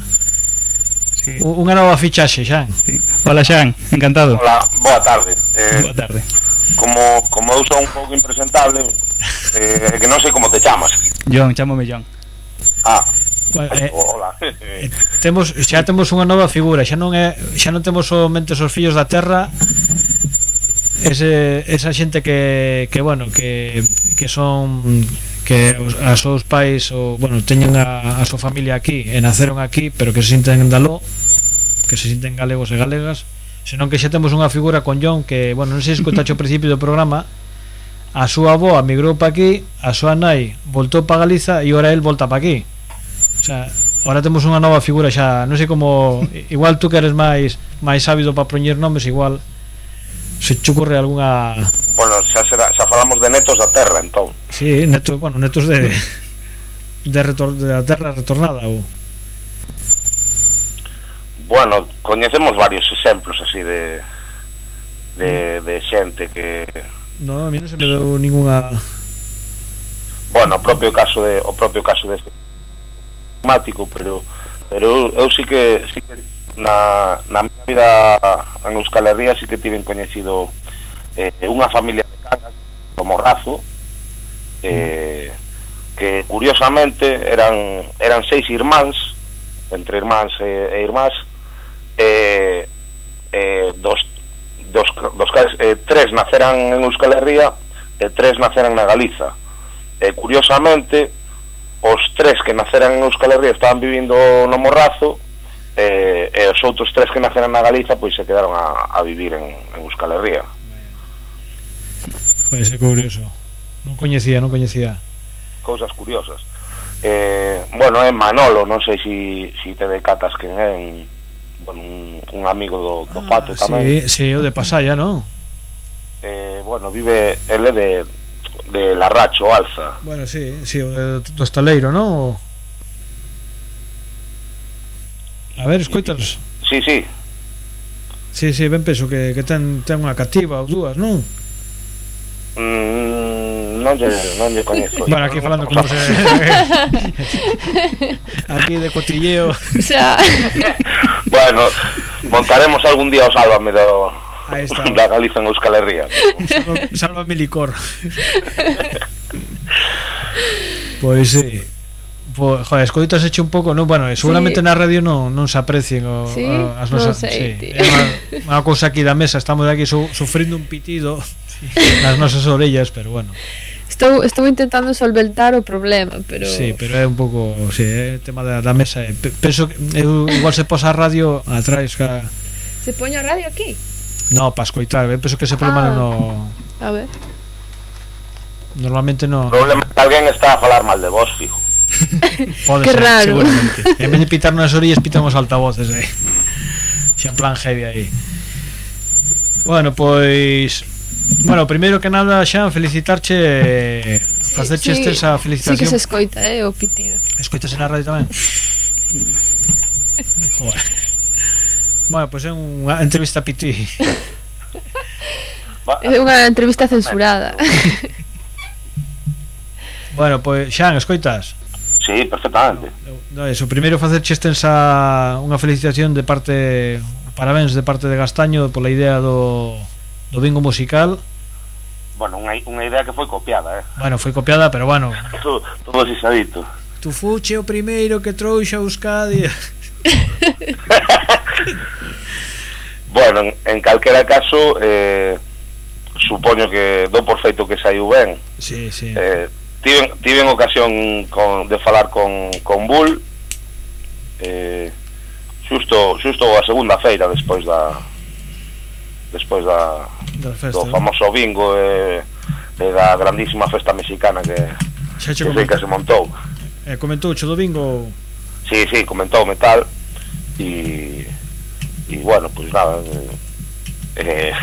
Sí. Unha nova fichaxe, Xan. Sí. Hola, Xan, encantado. Hola, boa tarde. Eh, boa tarde. Como como eu sou un pouco impresentable, eh, que non sei como te chamas. John, chámome John. Ah. Bueno, eh, hola. eh, temos xa temos unha nova figura, xa non é xa non temos somente os fillos da terra. Ese, esa xente que, que bueno, que, que son que os, a seus pais o, bueno, teñen a, a súa familia aquí e naceron aquí, pero que se sinten en Daló, que se sinten galegos e galegas, senón que xa temos unha figura con John que, bueno, non sei se escoitaxe ao principio do programa, a súa avó migrou pa aquí, a súa nai voltou pa Galiza e ora el volta pa aquí. O sea, ahora temos unha nova figura xa, non sei como, igual tú que eres máis máis sábido para poñer nomes, igual se te ocurre algunha... Bueno, xa, será, xa falamos de netos da terra, entón. Sí, netos, bueno, netos de de, retor, de la terra retornada ou... Bueno, coñecemos varios exemplos así de de, de xente que... No, a mí non se me deu ninguna... Bueno, o propio caso de o propio caso de temático, pero pero eu sí que sí que na, na minha vida en Euskal Herria sí que tiven coñecido eh, unha familia de Cangas do Morrazo, eh, que curiosamente eran eran seis irmáns, entre irmáns e, e irmás, eh, eh, dos, dos, dos eh, tres naceran en Euskal Herria e tres naceran na Galiza. Eh, curiosamente os tres que naceran en Euskal Herria estaban vivindo no Morrazo, eh, e os outros tres que naceran na Galiza pois se quedaron a, a vivir en, en Euskal Herria. Pode ser curioso. Non coñecía, non coñecía. Cousas curiosas. Eh, bueno, é Manolo, non sei se si, si te decatas quen é, un, bueno, un, un amigo do, do ah, Pato tamén. Sí, sí, o de Pasaya, non? Eh, bueno, vive ele de de Larracho, Alza. Bueno, sí, sí, o do Estaleiro, non? A ver, escoitas. Sí, sí. Sí, sí, ben penso que, que ten, ten unha cativa ou dúas, non? Mm, non lle, non lle coñezo. Bueno, aquí falando como se... aquí de cotilleo. Xa. Bueno, montaremos algún día o Sálvame do... Ahí está. Da Galiza en Euskal Herria. Salva, Sálvame licor. Pois sí. Pues, joder, escoitas hecho un pouco, non, bueno, seguramente sí. Na radio non, non se aprecien o, sí, o, as nosas, non sei, sí. É unha, unha cousa aquí da mesa, estamos aquí su, sufrindo un pitido sí. nas nosas orellas, pero bueno. Estou, estou intentando solventar o problema, pero... Sí, pero é un pouco, sí, é tema da, da mesa. eh. Pe- Penso que eu, igual se posa a radio atrás, ca... Se poño a radio aquí? No, para escoitar, eu penso que ese problema Ah. no... A ver. Normalmente no... O problema é que alguén está a falar mal de vos, fijo. Pode Que ser, raro. seguramente. En vez de pitarnos as orillas, pitamos altavoces aí. Xa en plan heavy aí. Bueno, pois... Bueno, primeiro que nada, xa, felicitarche, facerche sí, esta esa sí felicitación. que se escoita, eh, o pitido. Escoitase na radio tamén? Joder. Bueno, pois é unha entrevista a Piti. É unha entrevista censurada. Bueno, pois, Xan, escoitas? Sí, perfectamente. No, eso, primeiro facerche extensa unha felicitación de parte, parabéns de parte de Gastaño pola idea do, do bingo musical. Bueno, unha, unha idea que foi copiada, eh. Bueno, foi copiada, pero bueno, Todo, todo xisadito. tu fuche o primeiro que trouxa a Euskadi. Bueno, en, en calquera caso, eh, supoño que do por feito que saiu ben. Sí, sí. Eh, tiven, tiven ocasión con, de falar con, con Bull, eh, xusto, xusto a segunda feira despois da despois da, Da festa, do famoso bingo e, e da grandísima festa mexicana que, Xa che que sei que se montou. Eh, comentou o do bingo. Sí, sí, comentou metal y y bueno, pues nada, eh,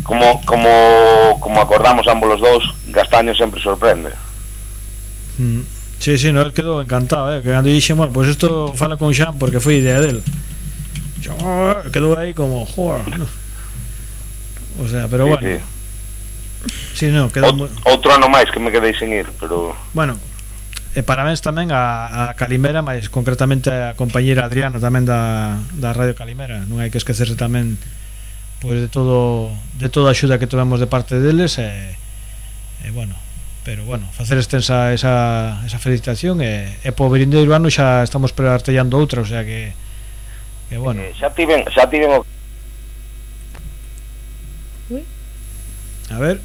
como como como acordamos ambos los dos, Gastaño sempre sorprende. Mm. Sí, sí, no, él quedou encantado, eh, que cando dixe, bueno, pues esto fala con Xan porque foi idea del. Xan, quedou aí como, joder, no. O sea, pero Sí, bueno. sí. Sí, no, quedou moi... Outro ano máis que me quedei sen ir, pero Bueno, e parabéns tamén a, a Calimera, máis concretamente a compañeira Adriana tamén da, da Radio Calimera. Non hai que esquecerse tamén pois de todo de toda a axuda que tivemos de parte deles e, e bueno, pero bueno, facer extensa esa, esa felicitación e, e po vindeiro ano xa estamos preartellando outra, o sea que que bueno. eh, xa tiven, xa tiven o... A ver.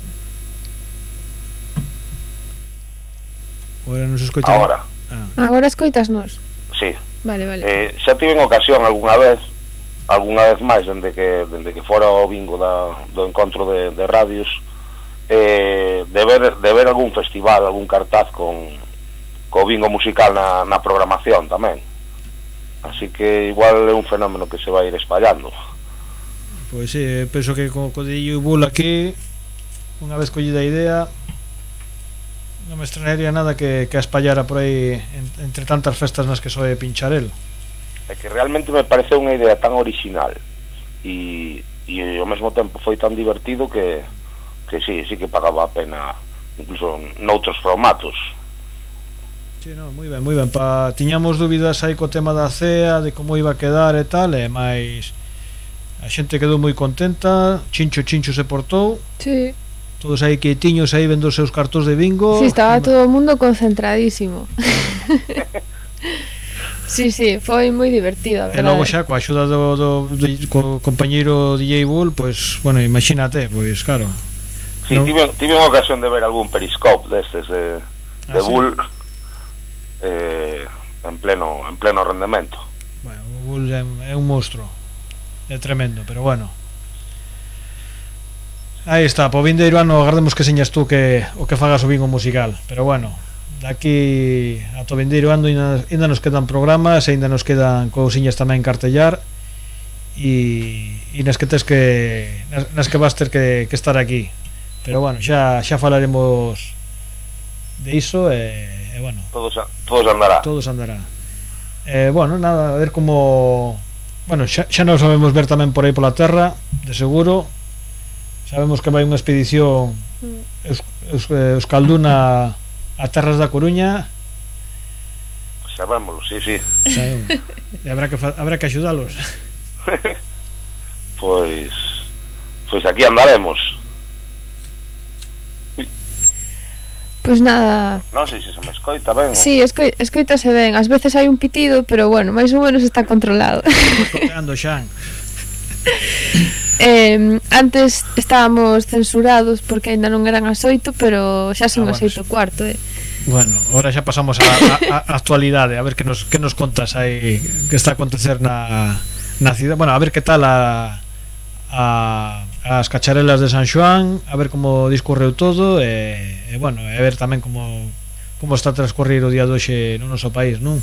Agora non se escoita. Ahora. Ah. Agora escoitasnos. Sí. Vale, vale. Eh, xa tiven ocasión algunha vez, algunha vez máis dende que dende que fora o bingo da, do encontro de, de radios, eh, de ver de ver algún festival, algún cartaz con co bingo musical na, na programación tamén. Así que igual é un fenómeno que se vai ir espallando. Pois sí, penso que co, co de Illo e Bull aquí, unha vez collida a idea, non me estrenaría nada que, que a espallara por aí en, entre tantas festas nas que soe pinchar el. É que realmente me pareceu unha idea tan original e, e ao mesmo tempo foi tan divertido que, que sí, sí que pagaba a pena incluso noutros formatos. Sí, no, moi ben, moi ben. Pa, tiñamos dúbidas aí co tema da C E A, de como iba a quedar e tal, e máis a xente quedou moi contenta, Chincho Chincho se portou. Sí. Todos aí quietiños aí vendo os seus cartóns de bingo. Sí, estaba todo o mundo concentradísimo. Sí, sí, foi moi divertido, a E verdade. logo xa, coa axuda do, do, do co compañeiro D J Bull, pois, bueno, imagínate, pois, claro. Sí, non... tive, tive unha ocasión de ver algún periscope destes de, de Ah, sí? Bull eh, en pleno en pleno rendemento. Bueno, o Bull é, é un monstruo. É tremendo, pero bueno. Aí está, po vindeiro ano agardemos que señas tú que o que fagas o bingo musical, pero bueno, daqui a to vindeiro ano ainda, ainda nos quedan programas, ainda nos quedan cousiñas tamén cartellar e, e nas que tes que nas, nas que vas ter que, que estar aquí. Pero bueno, xa xa falaremos de iso e, e bueno, Todos todos andará. todos andará. Eh, bueno, nada, a ver como, bueno, xa, xa nos sabemos ver tamén por aí pola terra, de seguro. Sabemos que vai unha expedición Eus, Eus, Euskalduna a terras da Coruña. Sabémoslo, sí, sí. Sabemos. E habrá que fa- habrá que axudalos. Pois pois aquí andaremos. Pois nada. Non sei se se me escoita ben. Sí, escoi, escoitase ben. Ás veces hai un pitido, pero bueno, máis ou menos está controlado. Coteando, Xan. eh, antes estábamos censurados porque ainda non eran as oito, pero xa son Ah, as bueno, oito cuarto, eh. Bueno, ahora xa pasamos a, a, a actualidade. A ver que nos, que nos contas aí que está a acontecer na, na cidade. Bueno, a ver que tal a, a, as cacharelas de San Xoán, a ver como discorreu todo e, e bueno, e ver tamén como como está a transcorrer o día de hoxe no noso país, non?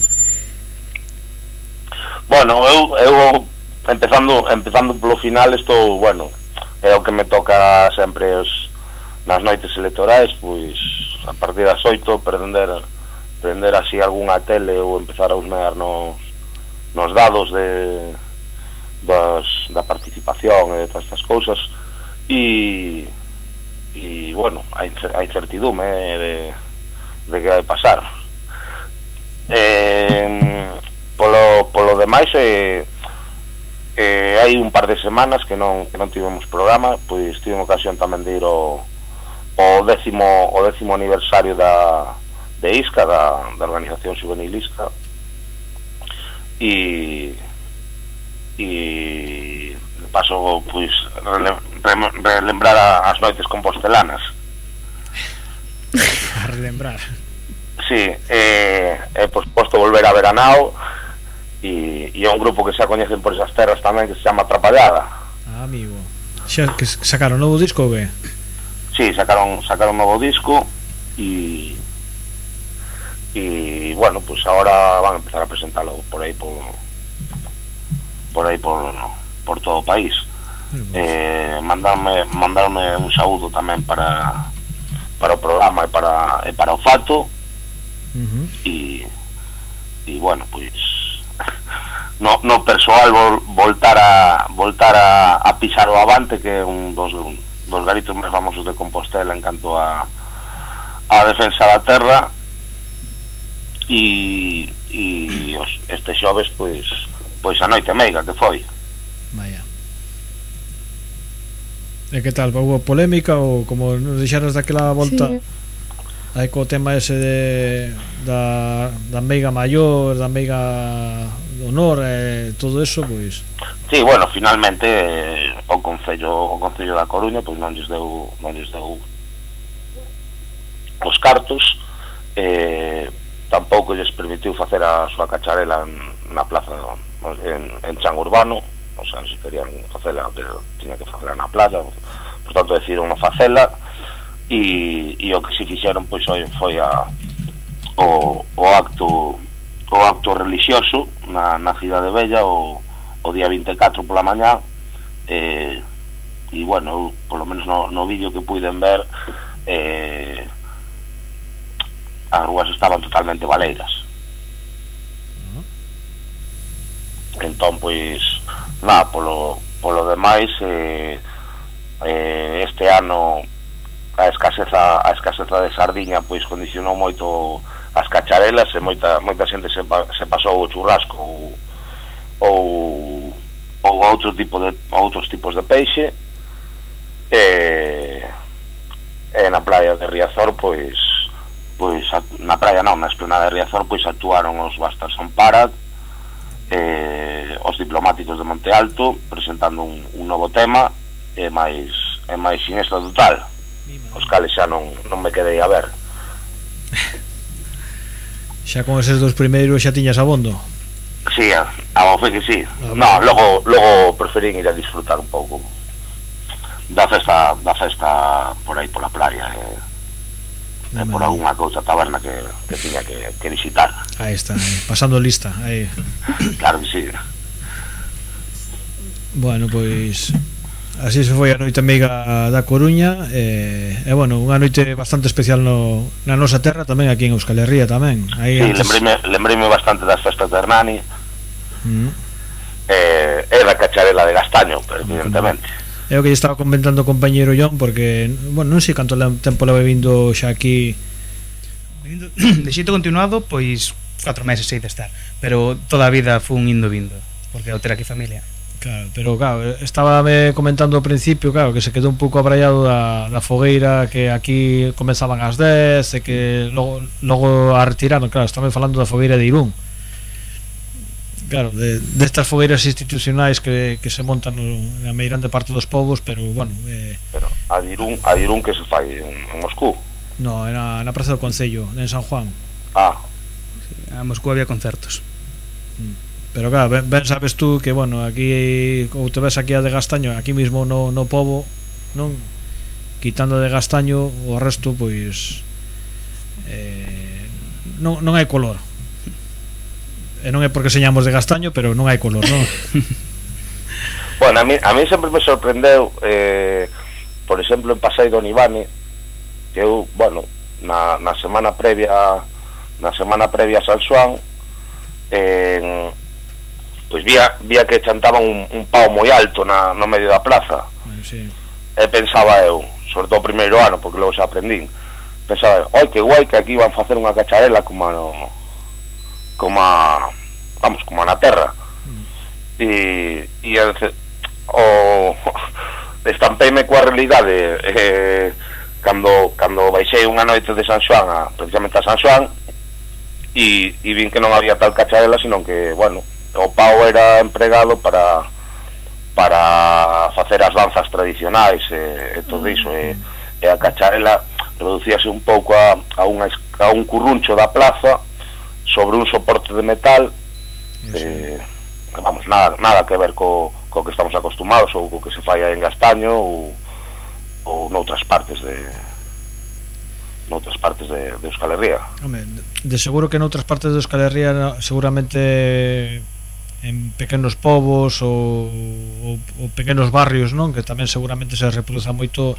Bueno, eu, eu empezando empezando polo final, estou, bueno, é o que me toca sempre os, nas noites electorais, pois a partir das oito prender prender así algunha tele ou empezar a husmear nos, nos dados de das, da participación e de todas estas cousas e e bueno, a incertidume de, de que vai pasar. Eh, polo, polo demais eh, eh, hai un par de semanas que non, que non tivemos programa, pois tive ocasión tamén de ir ao, ao décimo o décimo aniversario da de ISCA, da, da Organización Juvenil ISCA, e e paso pois rele, re, relembrar a, as noites compostelanas. A relembrar. Sí, eh, e por suposto volver a Veranao e, e é un grupo que xa coñecen por esas terras tamén, que se chama Atrapallada. Ah, amigo. Xa que sacaron novo disco ou que? Sí, sacaron sacaron un novo disco e e bueno, pues ahora van a empezar a presentarlo por aí por por aí por por todo o país. Eh, mandarme mandarme un saúdo tamén para para o programa e para e para o Fato. Uh-huh. E e bueno, pois no, no persoal vol, voltar a voltar a, a pisar o Avante, que é un dos, un, dos garitos máis famosos de Compostela en canto a a defensa da terra, e e os, este xoves pois pois a noite meiga que foi. Vaya. E que tal? Houve polémica ou como nos deixaras daquela volta? Sí. Aí co tema ese de da, da meiga maior, da meiga do honor e todo eso, pois... Sí, bueno, finalmente eh, o Concello o Concello da Coruña pois non lles deu non lles deu os cartos, eh, tampouco lles permitiu facer a súa cacharela en, na plaza en, en Chan Urbano, o sea, se querían facela, pero tiña que facela na playa, por tanto decidiron non facela. E, e o que se fixeron pois foi, foi a, o, o acto o acto religioso na, na Cidade Bella o, o día vinte e catro pola mañá, e, e bueno, polo menos no, no vídeo que puiden ver, eh, as rúas estaban totalmente baleiras. Entón pois nada, polo, polo demais eh, eh, este ano a escaseza a escaseza de sardiña pois condicionou moito as cacharelas e moita moita xente se, se pasou o churrasco ou ou, ou outro tipo de outros tipos de peixe, e, e na praia de Riazor pois pois na praia non, na esplanada de Riazor pois actuaron os Bastards on Parade, eh, os diplomáticos de Monte Alto presentando un, un novo tema e máis e máis sinestro total, os cales xa non, non me quedei a ver. Xa con eses dos primeiros xa tiñas abondo? Sí, a, a fe que sí. No, logo, logo preferín ir a disfrutar un pouco da festa da festa por aí pola playa, e, e por algunha cousa taberna que, que tiña que, que visitar. Aí está, aí, pasando lista aí. Claro que sí. Bueno, pois así se foi a noite meiga da Coruña, e, e bueno, unha noite bastante especial no, na nosa terra tamén, aquí en Euskal Herria tamén. Aí sí, antes... lembríme, lembríme bastante das festas de Hernani, mm. eh, e da cacharela de Gastaño, pero evidentemente. É o que lle estaba comentando o compañeiro John, porque, bueno, non sei canto tempo leva vindo xa aquí. De xeito continuado, pois catro meses sei de estar, pero toda a vida fun indo vindo, porque eu ter aquí familia. Claro, pero claro, estaba me comentando ao principio, claro, que se quedou un pouco abraiado da, da fogueira, que aquí comenzaban ás dez e que logo, logo a retiraron, claro, estaba falando da fogueira de Irún, Claro, de, de estas fogueiras institucionais que, que se montan no, na meirande parte dos povos, pero, bueno... Eh... Pero a Dirún, a Dirún que se fai en, en Moscú? No, era na Praza do Concello, en San Juan. Ah. Sí, a Moscú había concertos. Pero claro, ben, ben sabes tú que, bueno, aquí, ou te ves aquí a de Gastaño, aquí mismo no, no povo, non? Quitando de Gastaño, o resto, pois... Eh, non, non hai color. E non é porque señamos de Gastaño, pero non hai color, non? Bueno, a mí, a mí sempre me sorprendeu, eh, por exemplo, en Pasai do Nivane, que eu, bueno, na, na semana previa na semana previa a San Xoán, eh, pois vía, vía que chantaban un, un pau moi alto na, no medio da plaza. Sí. E pensaba eu, sobre todo o primeiro ano, porque logo xa aprendín, pensaba eu, oi, que guai que aquí van facer unha cacharela como no, como a, vamos, como na terra. E, e o estampeime coa realidade eh, cando, cando baixei unha noite de San Xoán a, precisamente a San Xoán, e, e vin que non había tal cacharela, sino que, bueno, o pau era empregado para para facer as danzas tradicionais e, e todo iso, e, e a cacharela reducíase un pouco a, a, unha, a un curruncho da plaza sobre un soporte de metal, eh, vamos, nada, nada que ver co, co que estamos acostumados ou co que se fai en Gastaño ou, ou noutras partes de noutras partes de, de Euskal Herria. Home, de seguro que noutras partes de Euskal Herria seguramente en pequenos povos ou, ou, ou pequenos barrios, non? Que tamén seguramente se reproduza moito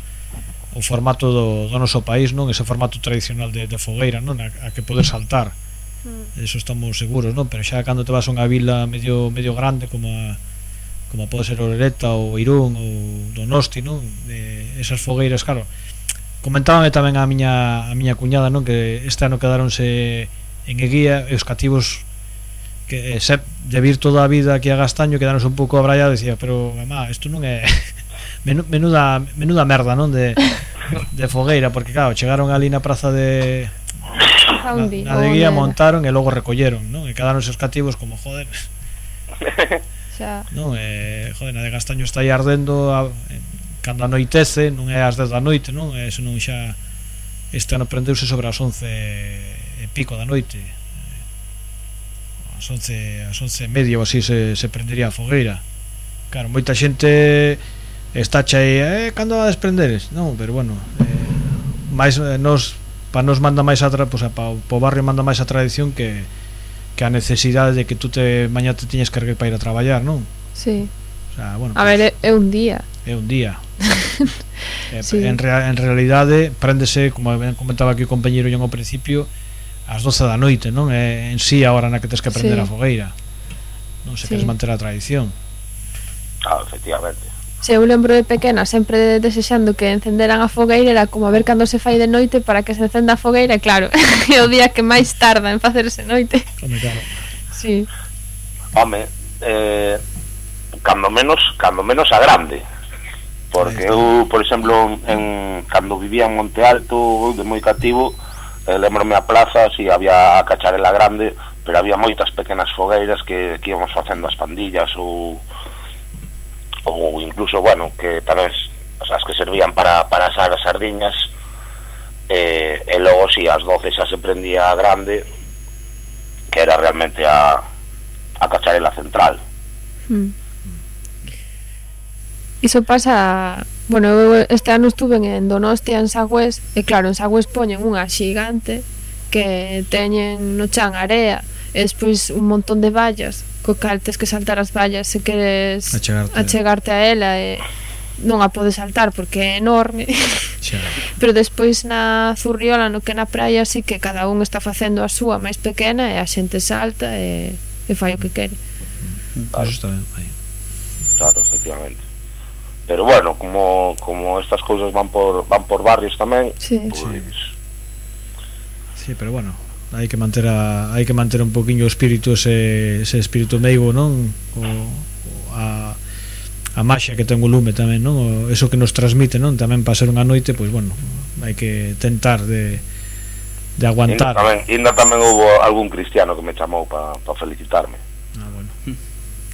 o formato do, do noso país, non? Ese formato tradicional de, de fogueira, non? A, a que poder saltar. Mm. Eso estamos seguros, non? Pero xa cando te vas a unha vila medio medio grande como a, como pode ser Orereta ou Irún ou Donosti, non? Eh, esas fogueiras, claro. Comentábame tamén a miña a miña cuñada, non? Que este ano quedáronse en Eguía e os cativos que se, de vir toda a vida aquí a Gastaño quedaronse un pouco abrallados, decía, pero mamá, isto non é menuda, menuda merda, non? De, de fogueira, porque claro, chegaron ali na praza de na, na de Guía, montaron e logo recolleron, non? E quedaronse os cativos como, joder, non? E, joder, na de Gastaño está aí ardendo a, cando anoitece, non é ás dez da noite, non? E senón xa este ano prendeuse sobre as once e pico da noite, as once, as once e media ou así se, se prendería a fogueira. Claro, moita xente está chai, eh, cando a desprenderes? Non, pero bueno, eh, máis eh, nos, pa nos manda máis a tra, pues, pa, pa o barrio manda máis a tradición que, que a necesidade de que tú te mañá te tiñes que erguer para ir a traballar, non? Sí. O sea, bueno, a pues, ver, é un día. É un día. eh, sí. en, rea, en realidade préndese, como comentaba aquí o compañeiro yo ao principio, ás doce da noite, non? É en sí a hora na que tens que prender sí. a fogueira. Non se sí. queres manter a tradición. Ah, efectivamente. Se eu lembro de pequena sempre desexando que encenderan a fogueira, era como a ver cando se fai de noite para que se encenda a fogueira, e claro, é o día que máis tarda en facerse noite. Home, claro. Sí. Home, eh, cando menos, cando menos a grande. Porque eu, por exemplo, en, cando vivía en Monte Alto, de moi cativo, eh, lembrome a plaza, si había a cacharela grande, pero había moitas pequenas fogueiras que, que íbamos facendo as pandillas ou ou incluso, bueno, que tal vez as que servían para, para asar as sardiñas, eh, e logo si as doce xa se prendía a grande, que era realmente a, a cacharela central. Mm. Iso pasa, bueno, eu este ano estuve en Donostia, en Sagüés, e claro, en Sagüés poñen unha xigante que teñen no chan area e despois un montón de vallas co cal tes que saltar as vallas se queres achegarte, achegarte a ela, e non a podes saltar porque é enorme. Pero despois na Zurriola, no que na praia, sí que cada un está facendo a súa máis pequena e a xente salta e, e fai o que quere. Claro. Eso está ben, aí. Claro, efectivamente. Pero bueno, como, como estas cousas van por van por barrios tamén, sí. Pues... sí, pero bueno, hai que manter a hai que manter un poquiño o espírito, ese, ese espírito meigo, non? O, a, a maxia que ten o lume tamén, non? O, eso que nos transmite, non? Tamén para ser unha noite, pois pues, bueno, hai que tentar de de aguantar. Ainda tamén, ainda tamén houve algún cristiano que me chamou para pa felicitarme. Ah, bueno.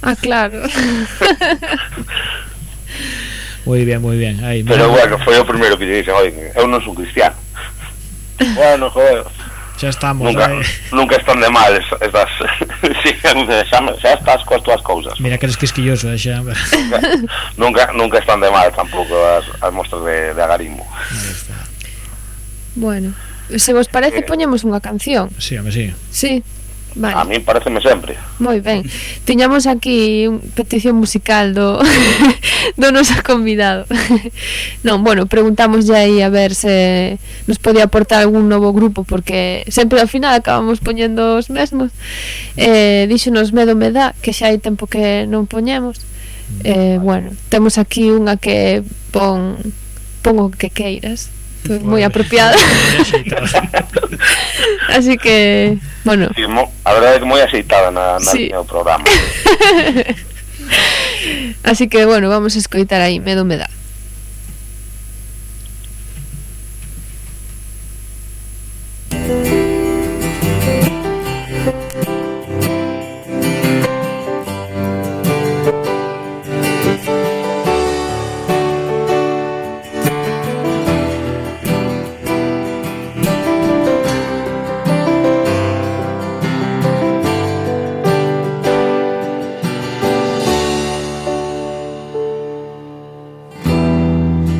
Ah, claro. Moi bien, moi bien. Aí, Pero bueno, foi o primeiro que lle dixen, oi, eu non son cristiano. Bueno, joder. Xa estamos, nunca, aí. Nunca están de mal estas... sí, xa, xa estás coas túas cousas. Mira que eres quisquilloso, eh, xa. nunca, nunca, nunca están de mal tampouco as, as mostras de, de agarismo. Bueno, se vos parece, poñemos unha canción. Sí, home, sí. Sí. Vale. A mí pareceme sempre. Moi ben. Tiñamos aquí unha petición musical do do noso convidado. Non, bueno, preguntamos ya aí a ver se nos podía aportar algún novo grupo, porque sempre ao final acabamos poñendo os mesmos. Eh, díxonos Medo me dá, que xa hai tempo que non poñemos. Eh, bueno, temos aquí unha que pon pon o que queiras. Pues moi apropiada. Así que, bueno. Sí, mo, a verdade é que moi aceitada na, na sí. no programa. Así que, bueno, vamos a escoitar aí Medo me dá.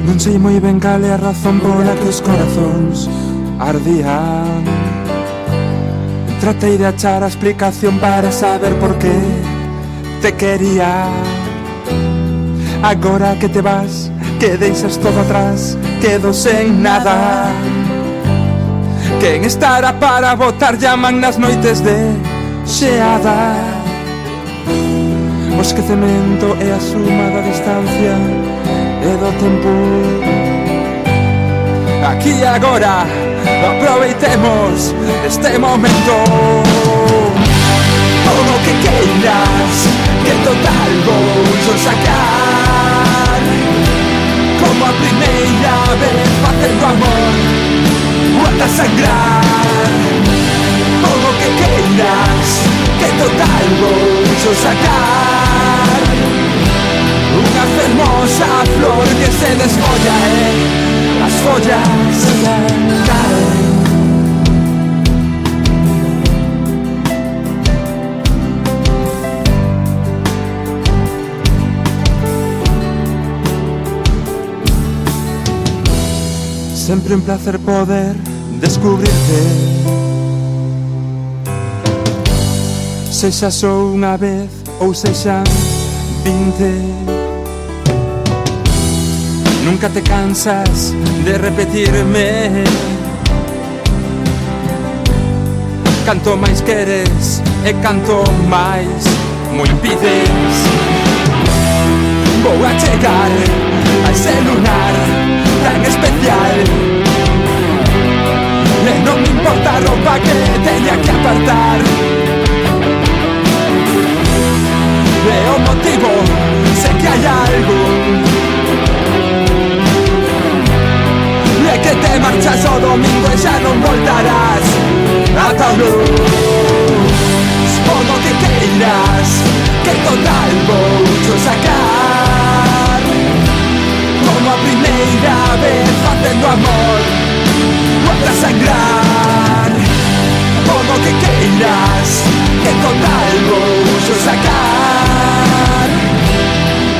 Non sei moi ben cal é a razón pola que os corazóns ardían. Tratei de achar a explicación para saber por qué te quería. Agora que te vas, que deixas todo atrás, quedo sen nada. Quen estará para botar llaman nas noites de xeada. O esquecemento é a suma da distancia e do tempo. Aquí e agora aproveitemos este momento. Todo o que queiras, que total vou sacar. Como a primeira vez facendo amor, ata sangrar. Todo o que queiras, que total vou sacar. Unha fermosa flor que se desfolla e as follas caen. Sempre un placer poder descubrirte, sexa só unha vez ou sexan vinte. Nunca te cansas de repetirme. Canto máis queres e canto máis mo impides. Vou a chegar a ese lunar tan especial e non me importa a roupa que teña que apartar. E o motivo, sé que hai algo, e que te marchas o domingo e xa non voltarás ata o luz. Podo que queiras, que total vou sacar. Como a primeira vez facendo amor, ata sangrar. Podo que queiras, que total vou sacar.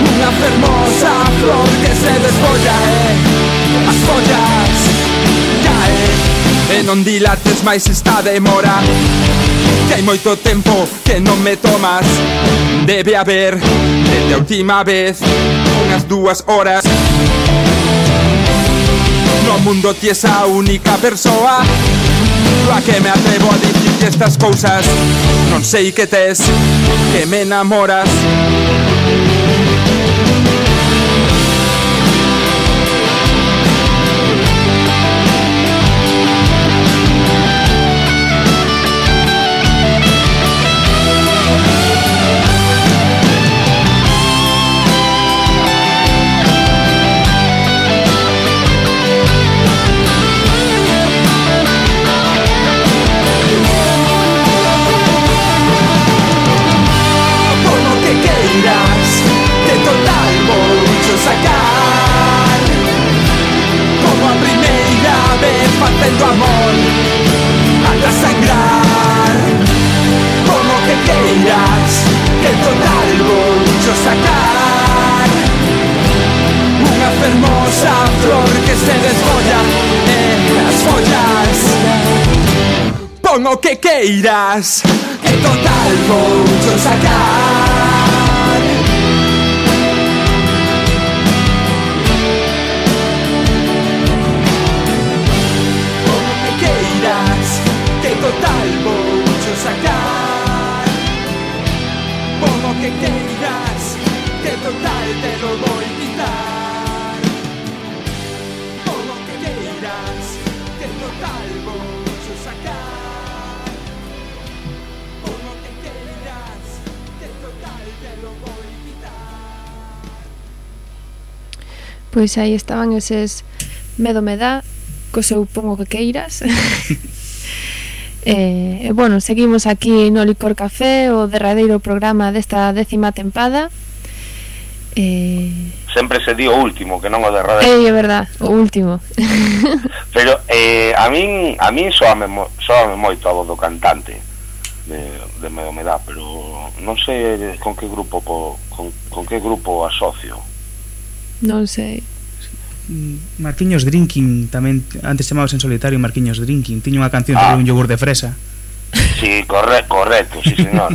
Unha fermosa flor que se desfolla e as follas caen. E non dilates máis esta demora, que hai moito tempo que non me tomas. Debe haber, desde a última vez, unhas dúas horas. No mundo ti es a única persoa a que me atrevo a dicir estas cousas. Non sei que tes, que me enamoras. Que fermosa flor que se desfolla en las follas. Pon o que queiras, que total voucho sacar. Pon o que queiras, que total voucho sacar. Pon o que queiras, que total te lo voy quitar. Pon o que queiras, que total voucho sacar. Pon o que queiras, que total te lo voy quitar. Pois aí estaban eses Medo me dá, co seu Pon o que queiras. E, eh, bueno, seguimos aquí no Licor Café, o derradeiro programa desta décima tempada. Eh... Sempre se di o último, que non o derradeiro. Ei, é verdad, o último. Pero eh, a min a min soame, mo, soame moito a voz do cantante de, de Medo me dá, pero non sei con que grupo po, con, con que grupo asocio. Non sei. Marquiños Drinking tamén, antes chamados en solitario Marquiños Drinking, tiña unha canción Ah. sobre un yogur de fresa. Sí, corre, correcto, sí señor.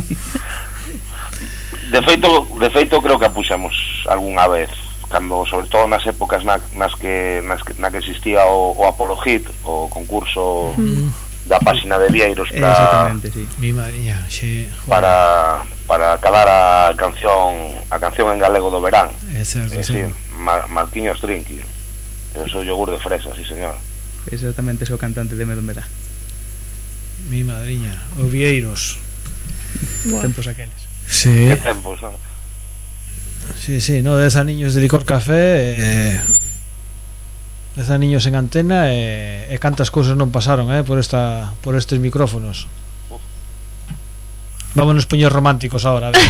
De feito, de feito creo que a puxamos algunha vez, cando sobre todo nas épocas na, nas que nas que, na que existía o, o Apolo Hit, o concurso mm. da páxina de Vieiros para Exactamente, sí. Mi mariña, sí. para para calar a canción a canción en galego do verán. É certo, é sí. decir, Mar, Marquiños Drinking. Eso yogur de fresa, sí señor. Exactamente, ese o cantante de Medo me dá. Mi madriña, o Vieiros. Bueno. Tempos aqueles. Sí. Que tempos, non? Sí, sí, no, dez aniños de Licor Café, eh, dez aniños en antena e, e cantas cousas non pasaron, eh, por esta por estes micrófonos. Vámonos poñer románticos ahora, a ver.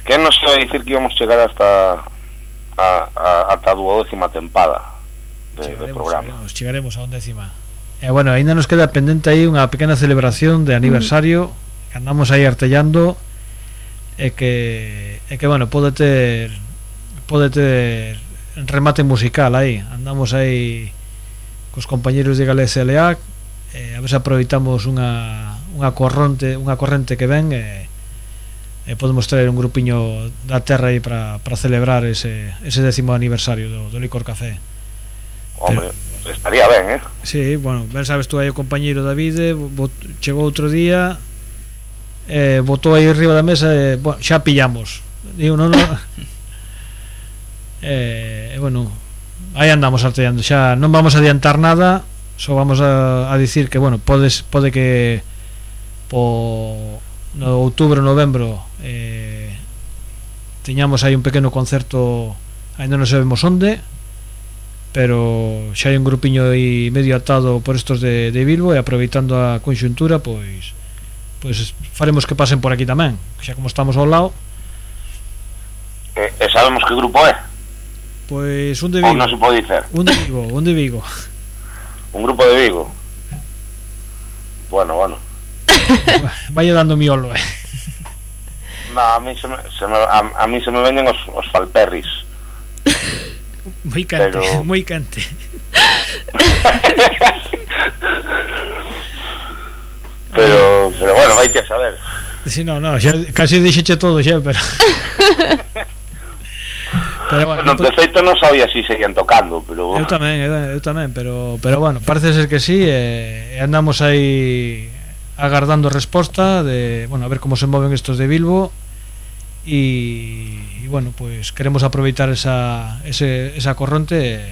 Que non se vai dicir que íbamos chegar hasta a, a, ata a duodécima tempada de, de programa. Chegaremos, chegaremos a undécima. E bueno, ainda nos queda pendente aí unha pequena celebración de aniversario mm. que andamos aí artellando e que e que bueno, pode ter pode ter remate musical aí. Andamos aí cos compañeros de Galicia L A, e a ver se aproveitamos unha unha corrente, unha corrente que ven e e podemos traer un grupiño da terra aí para para celebrar ese ese décimo aniversario do, do Licor Café. Hombre, pero estaría ben, eh? Sí, bueno, ben sabes tú aí o compañeiro Davide bot, chegou outro día eh, botou aí arriba da mesa e, bueno, xa pillamos digo, non, non e, eh, bueno aí andamos artellando, xa non vamos a adiantar nada, só vamos a, a dicir que, bueno, podes, pode que po no outubro, novembro eh, tiñamos aí un pequeno concerto, ainda non sabemos onde, pero xa hai un grupiño aí medio atado por estos de, de Bilbo, e aproveitando a conxuntura, pois pois faremos que pasen por aquí tamén, xa como estamos ao lado. E, e sabemos que grupo é? Pois un de Vigo. Ou non se pode dicer? Un de Vigo, un de Vigo. Un grupo de Vigo. Bueno, bueno. Vaya dando miolo, eh. No, a mí se me, se me, a, a mí se me venden os, os falperris. Moi cante, pero... moi cante. pero, pero bueno, vai que saber. Si, sí, no, no, xa, casi dixeche todo xa, pero... pero bueno, no, de feito non sabía si seguían tocando, pero... Eu tamén, eu, eu tamén, pero, pero bueno, parece ser que sí, e, e andamos aí agardando resposta de, bueno, a ver como se moven estos de Bilbo, e, e bueno, pues queremos aproveitar esa, ese, esa corrente e,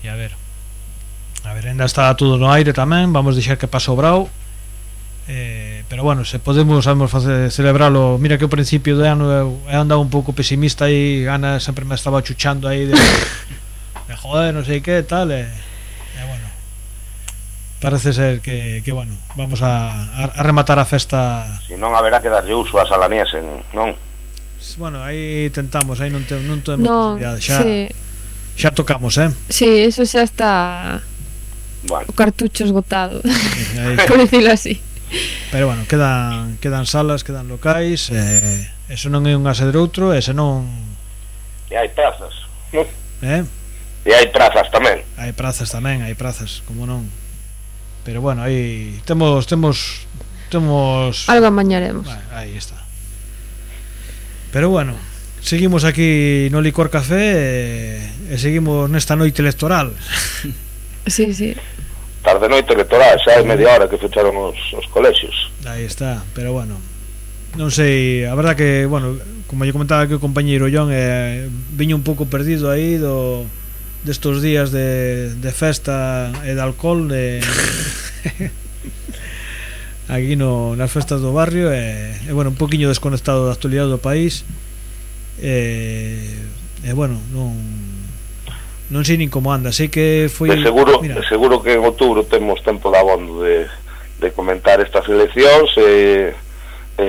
e a ver a ver, ainda está todo no aire tamén, vamos deixar que pase o brao, eh, pero bueno, se podemos sabemos facer, celebralo. Mira que ao principio de ano eu, eu andaba un pouco pesimista e Ana sempre me estaba chuchando aí de, de joder, non sei que tal, e, e bueno, parece ser que, que bueno, vamos a, a rematar a festa. Si non haberá que darlle uso a Salaniesen, non? Bueno, aí tentamos, aí non, te, non temos no, posibilidade, xa, sí. xa tocamos, eh? Sí, eso xa está, bueno. O cartucho esgotado, sí, aí, por decirlo así. Pero bueno, quedan, quedan salas, quedan locais, eh, eso non é un ase de outro, e se non E hai prazas, non? Eh? E hai prazas tamén. Hai prazas tamén, hai prazas, como non. Pero bueno, aí temos temos temos algo amañaremos. Bueno, aí está. Pero bueno, seguimos aquí no Licor Café e, e seguimos nesta noite electoral. Sí, sí. Tarde noite electoral, xa hai media hora que fecharon os, os colexios. Aí está, pero bueno, non sei, a verdad que, bueno, como lle comentaba aquí o compañeiro John, eh, viño un pouco perdido aí do destos días de, de festa e de alcohol de aquí no, nas festas do barrio e, e bueno, un poquinho desconectado da actualidade do país e, e bueno, non non sei nin como anda, sei que foi de seguro, mira, de seguro que en outubro temos tempo de abondo de, de comentar estas eleccións e, e,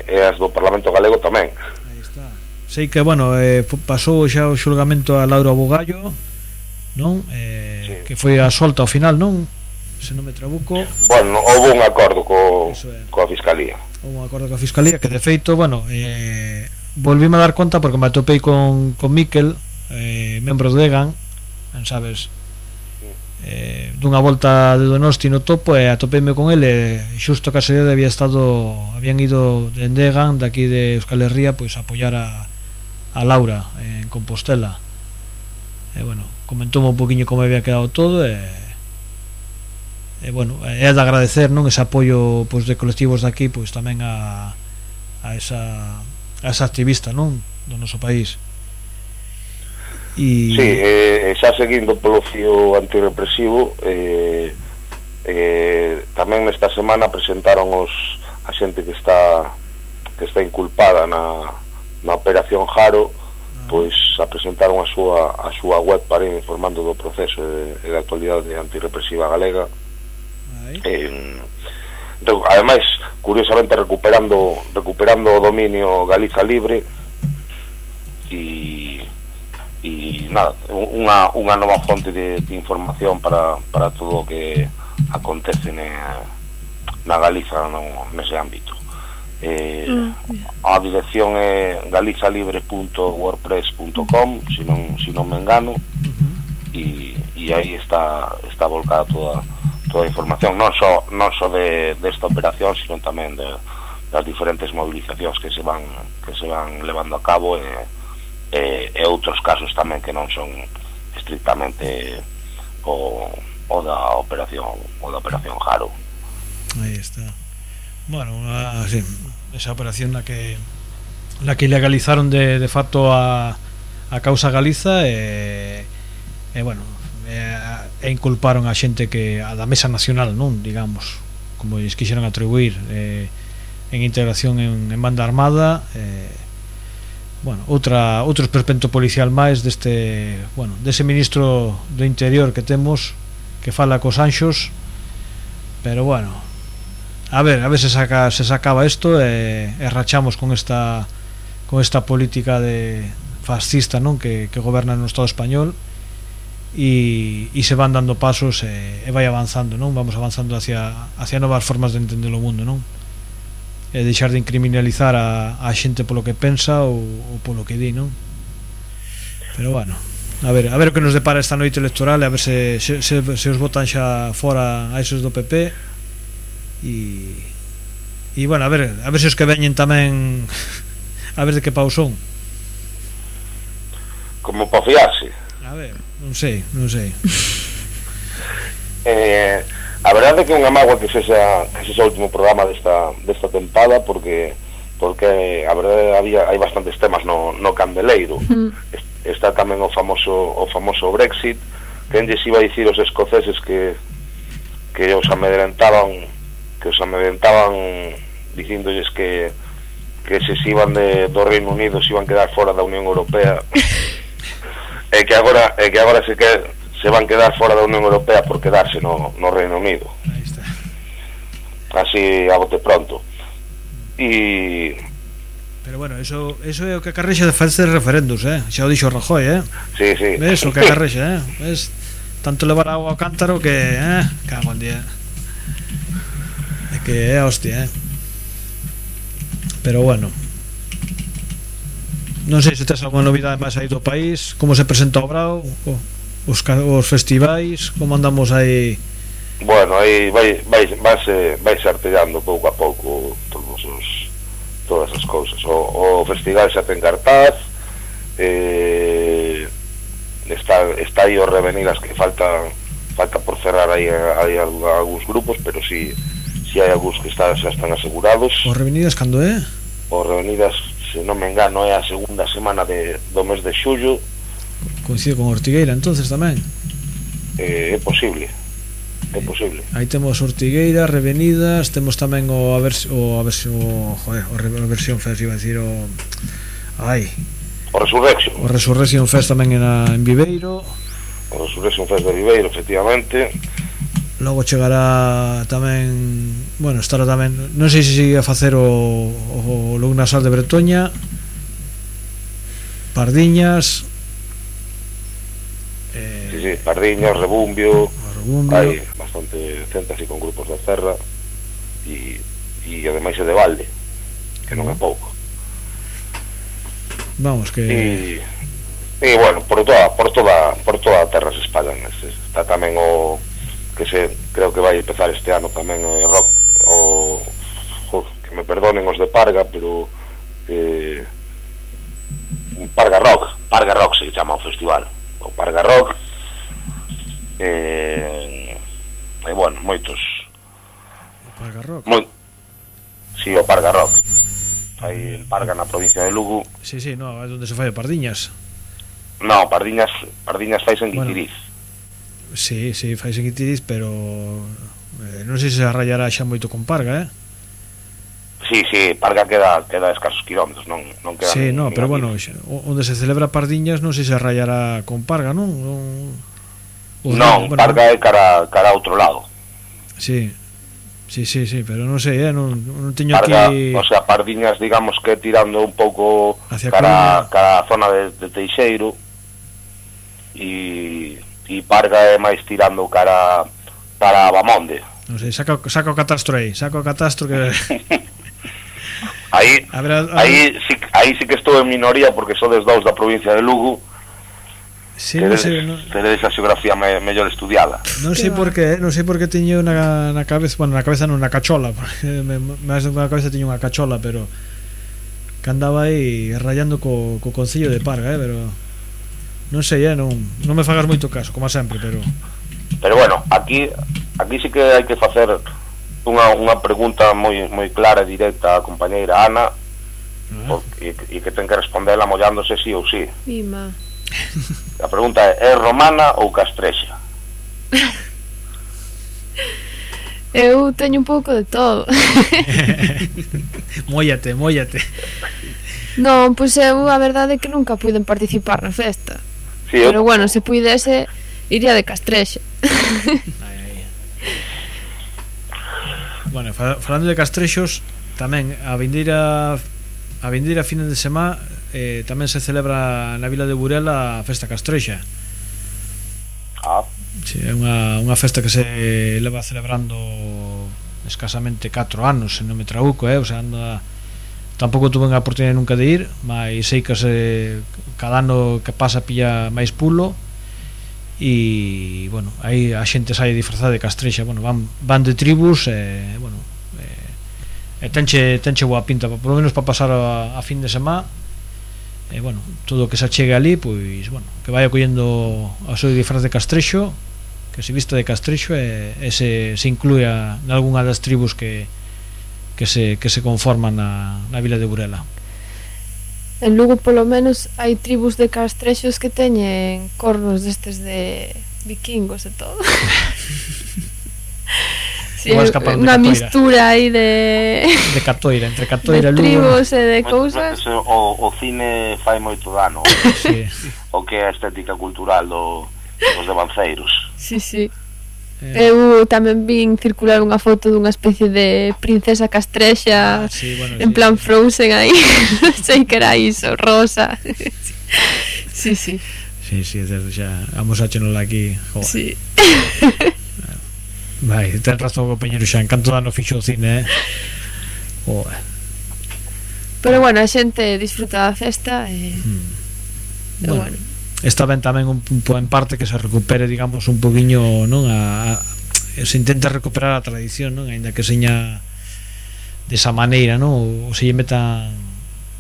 e as do Parlamento Galego tamén. Aí está. Sei que, bueno, eh, pasou xa o xulgamento a Laura Bugallo, non? Eh, sí. Que foi a solta ao final, non? Se non me trabuco. Bueno, houve un acordo co, coa Fiscalía. Houve un acordo coa Fiscalía que de feito, bueno, eh, volvíme a dar conta porque me atopei con, con Miquel, eh, membro de Egan, sabes, eh, dunha volta de Donosti no topo e atopeime con ele e xusto que a sede había estado habían ido de Egan de aquí de Euskal Herria pois a apoiar a, a Laura en Compostela e bueno, comentou un poquinho como había quedado todo e e bueno, é de agradecer, non, ese apoio pois de colectivos de aquí pois tamén a a esa a esa activista, non, do noso país. E... Sí, eh, xa seguindo polo fío antirrepresivo eh, eh, tamén nesta semana presentaron os a xente que está que está inculpada na, na Operación Jaro, ah. pois a presentaron a súa, a súa web para ir informando do proceso e da actualidade antirrepresiva galega. Eh, ademais, curiosamente recuperando recuperando o dominio Galiza Libre e e nada, unha, unha nova fonte de, de información para, para todo o que acontece na, na Galiza no, nese ámbito. Eh, mm. A dirección é galizalibre punto wordpress punto com, se non, se non me engano, uh-huh. e, e aí está, está volcada toda toda a información, non só non só de desta operación, sino tamén de, das diferentes movilizacións que se van que se van levando a cabo e, e, e outros casos tamén que non son estrictamente o, o da operación o da operación Jaro. Aí está. Bueno, a, sí, esa operación na que na que legalizaron de, de facto a, a causa Galiza e, e bueno, e, e inculparon a xente que a da Mesa Nacional, non, digamos, como lles quixeron atribuir eh, en integración en, en banda armada, eh, bueno, outra outro esperpento policial máis deste, bueno, dese ministro do Interior que temos que fala cos anxos, pero bueno, a ver, a ver se saca se sacaba isto e, e rachamos con esta con esta política de fascista, non, que, que goberna no Estado español. E, e se van dando pasos e, e vai avanzando, non? Vamos avanzando hacia, hacia novas formas de entender o mundo, non? E deixar de incriminalizar a, a xente polo que pensa ou, ou polo que di, non? Pero bueno, a ver, a ver o que nos depara esta noite electoral, a ver se, se, se, se os botan xa fora a esos do P P e, e bueno, a ver, a ver se os que veñen tamén a ver de que pau son. Como para fiarse. A ver, non sei, non sei. eh, a verdade é que é unha mágoa que sexa, que sexa o último programa desta, desta tempada, porque porque a verdade había, hai bastantes temas no, no candeleiro. Mm. Está tamén o famoso o famoso Brexit, que enlles iba a dicir os escoceses que que os amedrentaban que os amedrentaban dicíndolles que que se se iban de, do Reino Unido se iban quedar fora da Unión Europea. É que agora é que agora se que se van quedar fora da Unión Europea por quedarse no, no Reino Unido. Aí está. Así a bote pronto. E pero bueno, eso eso é o que acarrexa de facer referendos, eh? Xa o dixo Rajoy, eh? Sí, sí. Ves o que acarrexa, eh? Ves tanto levar agua ao cántaro que, eh, cago en día. É que é hostia, eh? Pero bueno. non sei se tes alguma novidade máis aí do país, como se presenta o Brao, os, os festivais, como andamos aí. Bueno, aí vai vai vai vai se artellando pouco a pouco todos os todas as cousas. O, o festival xa ten cartaz, eh, está está aí os Revenidas que falta falta por cerrar aí hai algúns grupos, pero si si hai algúns que está, xa están asegurados. Os Revenidas cando é? Os Revenidas, se non me engano, é a segunda semana de, do mes de xullo. Coincide con Ortigueira entonces tamén? Eh, é posible. É posible. Aí temos Ortigueira, Revenidas, temos tamén o a ver o a ver o joder, o a versión fest, iba a decir o ai, o Resurrection. O Resurrection Fest tamén en, a, en Viveiro. O Resurrection Fest de Viveiro, efectivamente. Logo chegará tamén, bueno, estará tamén, non sei se sigue a facer o o Lugnasal de Bretoña, Pardiñas, eh, sí, sí, Pardiñas, Rebumbio, Rebumbio. Hai bastante centas e con grupos da terra e, e ademais é de balde, que non é pouco. Vamos, que e, e bueno, por toda por toda por toda a terra se espallan. Está tamén o que se creo que vai empezar este ano tamén o rock, o jo, que me perdonen os de Parga, pero eh, Parga Rock, Parga Rock se chama o festival, o Parga Rock. Eh, e bueno, moitos o Parga Rock. Moi, si, sí, o Parga Rock. Aí en Parga, na provincia de Lugo. Si, si, no, é onde se fai o Pardiñas. No, Pardiñas, Pardiñas fais en Guitiriz. Bueno, si, si, fais en Guitiriz, pero eh, non sei se se arrayará xa moito con Parga, eh? Si, si, Parga queda queda a escasos kilómetros, non, non queda. Si, no, pero bueno, onde se celebra Pardiñas non sei se arrayará con Parga, non? Non, non, bueno, Parga é cara, cara a outro lado. Si, si, si, si, pero non sei, eh, non, non teño Parga, aquí. O sea, Pardiñas, digamos que tirando un pouco hacia cara, cara a zona de, de Teixeiro, e e Parga é máis tirando cara para Bamonde. Non sei, saca, saca o catastro aí, saca o catastro que aí, a ver, a ver. aí, sí, aí sí que estou en minoría porque sodes dous da provincia de Lugo. Sí, non sei, non... teredes a xeografía me, mellor estudiada. Non sei por qué, non sei por que teño na, na cabeza, bueno, na cabeza non, na cachola, porque me, máis na cabeza teño unha cachola, pero que andaba aí rayando co, co concello de Parga, eh, pero non sei, eh, non, non me fagas moito caso, como sempre, pero pero bueno, aquí aquí sí que hai que facer unha, unha pregunta moi moi clara e directa á compañeira Ana, uh-huh. porque, e, e que ten que respondela mollándose sí ou sí. Mima. A pregunta é, é romana ou castrexa? Eu teño un pouco de todo. Móllate, móllate. Non, pois eu a verdade é que nunca puiden participar na festa, sí, pero eu... bueno, se puidese iría de castrexa. Ai, ai. Bueno, falando de castrexos, tamén a vindeira a vindeira fin de semana eh, tamén se celebra na vila de Burela a festa castrexa. Ah. Sí, é unha, unha festa que se leva celebrando escasamente catro anos, se non me trabuco, eh? O sea, anda... tampouco tuve a oportunidade nunca de ir, mas sei que se, cada ano que pasa pilla máis pulo e, bueno, aí a xente sai disfrazada de castrexa, bueno, van, van de tribus e, bueno, e, e tenche, tenche boa pinta, por lo menos para pasar a, a fin de semana. E, bueno, todo o que se achegue ali, pois, bueno, que vaya collendo a seu disfraz de castrexo, que se vista de castrexo e, e se, se incluya en algunha das tribus que que se, que se conforman na, na vila de Burela. En Lugo, polo menos, hai tribus de castrexos que teñen cornos destes de vikingos e todo. Sí, unha mistura aí de de catoira, entre catoira e Lugo, tribus e de cousas. O, o cine fai moito dano. Sí. O que é a estética cultural do, dos devanceiros. Sí, sí. Eh. Eu tamén vin circular unha foto dunha especie de princesa castrexa, ah, sí, bueno, en sí, plan Frozen aí. Non sei que era iso, rosa. Sí, sí. Sí, sí, desde xa vamos a chenola aquí. Joder. Sí. Vai, ten razón o compañero xa, encanto dano fixo o cine, eh. Joder. Pero bueno, a xente disfruta da festa e, mm. e bueno, bueno. Está ben tamén un, un, en parte que se recupere, digamos, un poquinho, non, a, a se intenta recuperar a tradición, non, aínda que seña desa maneira, non, ou se lle metan,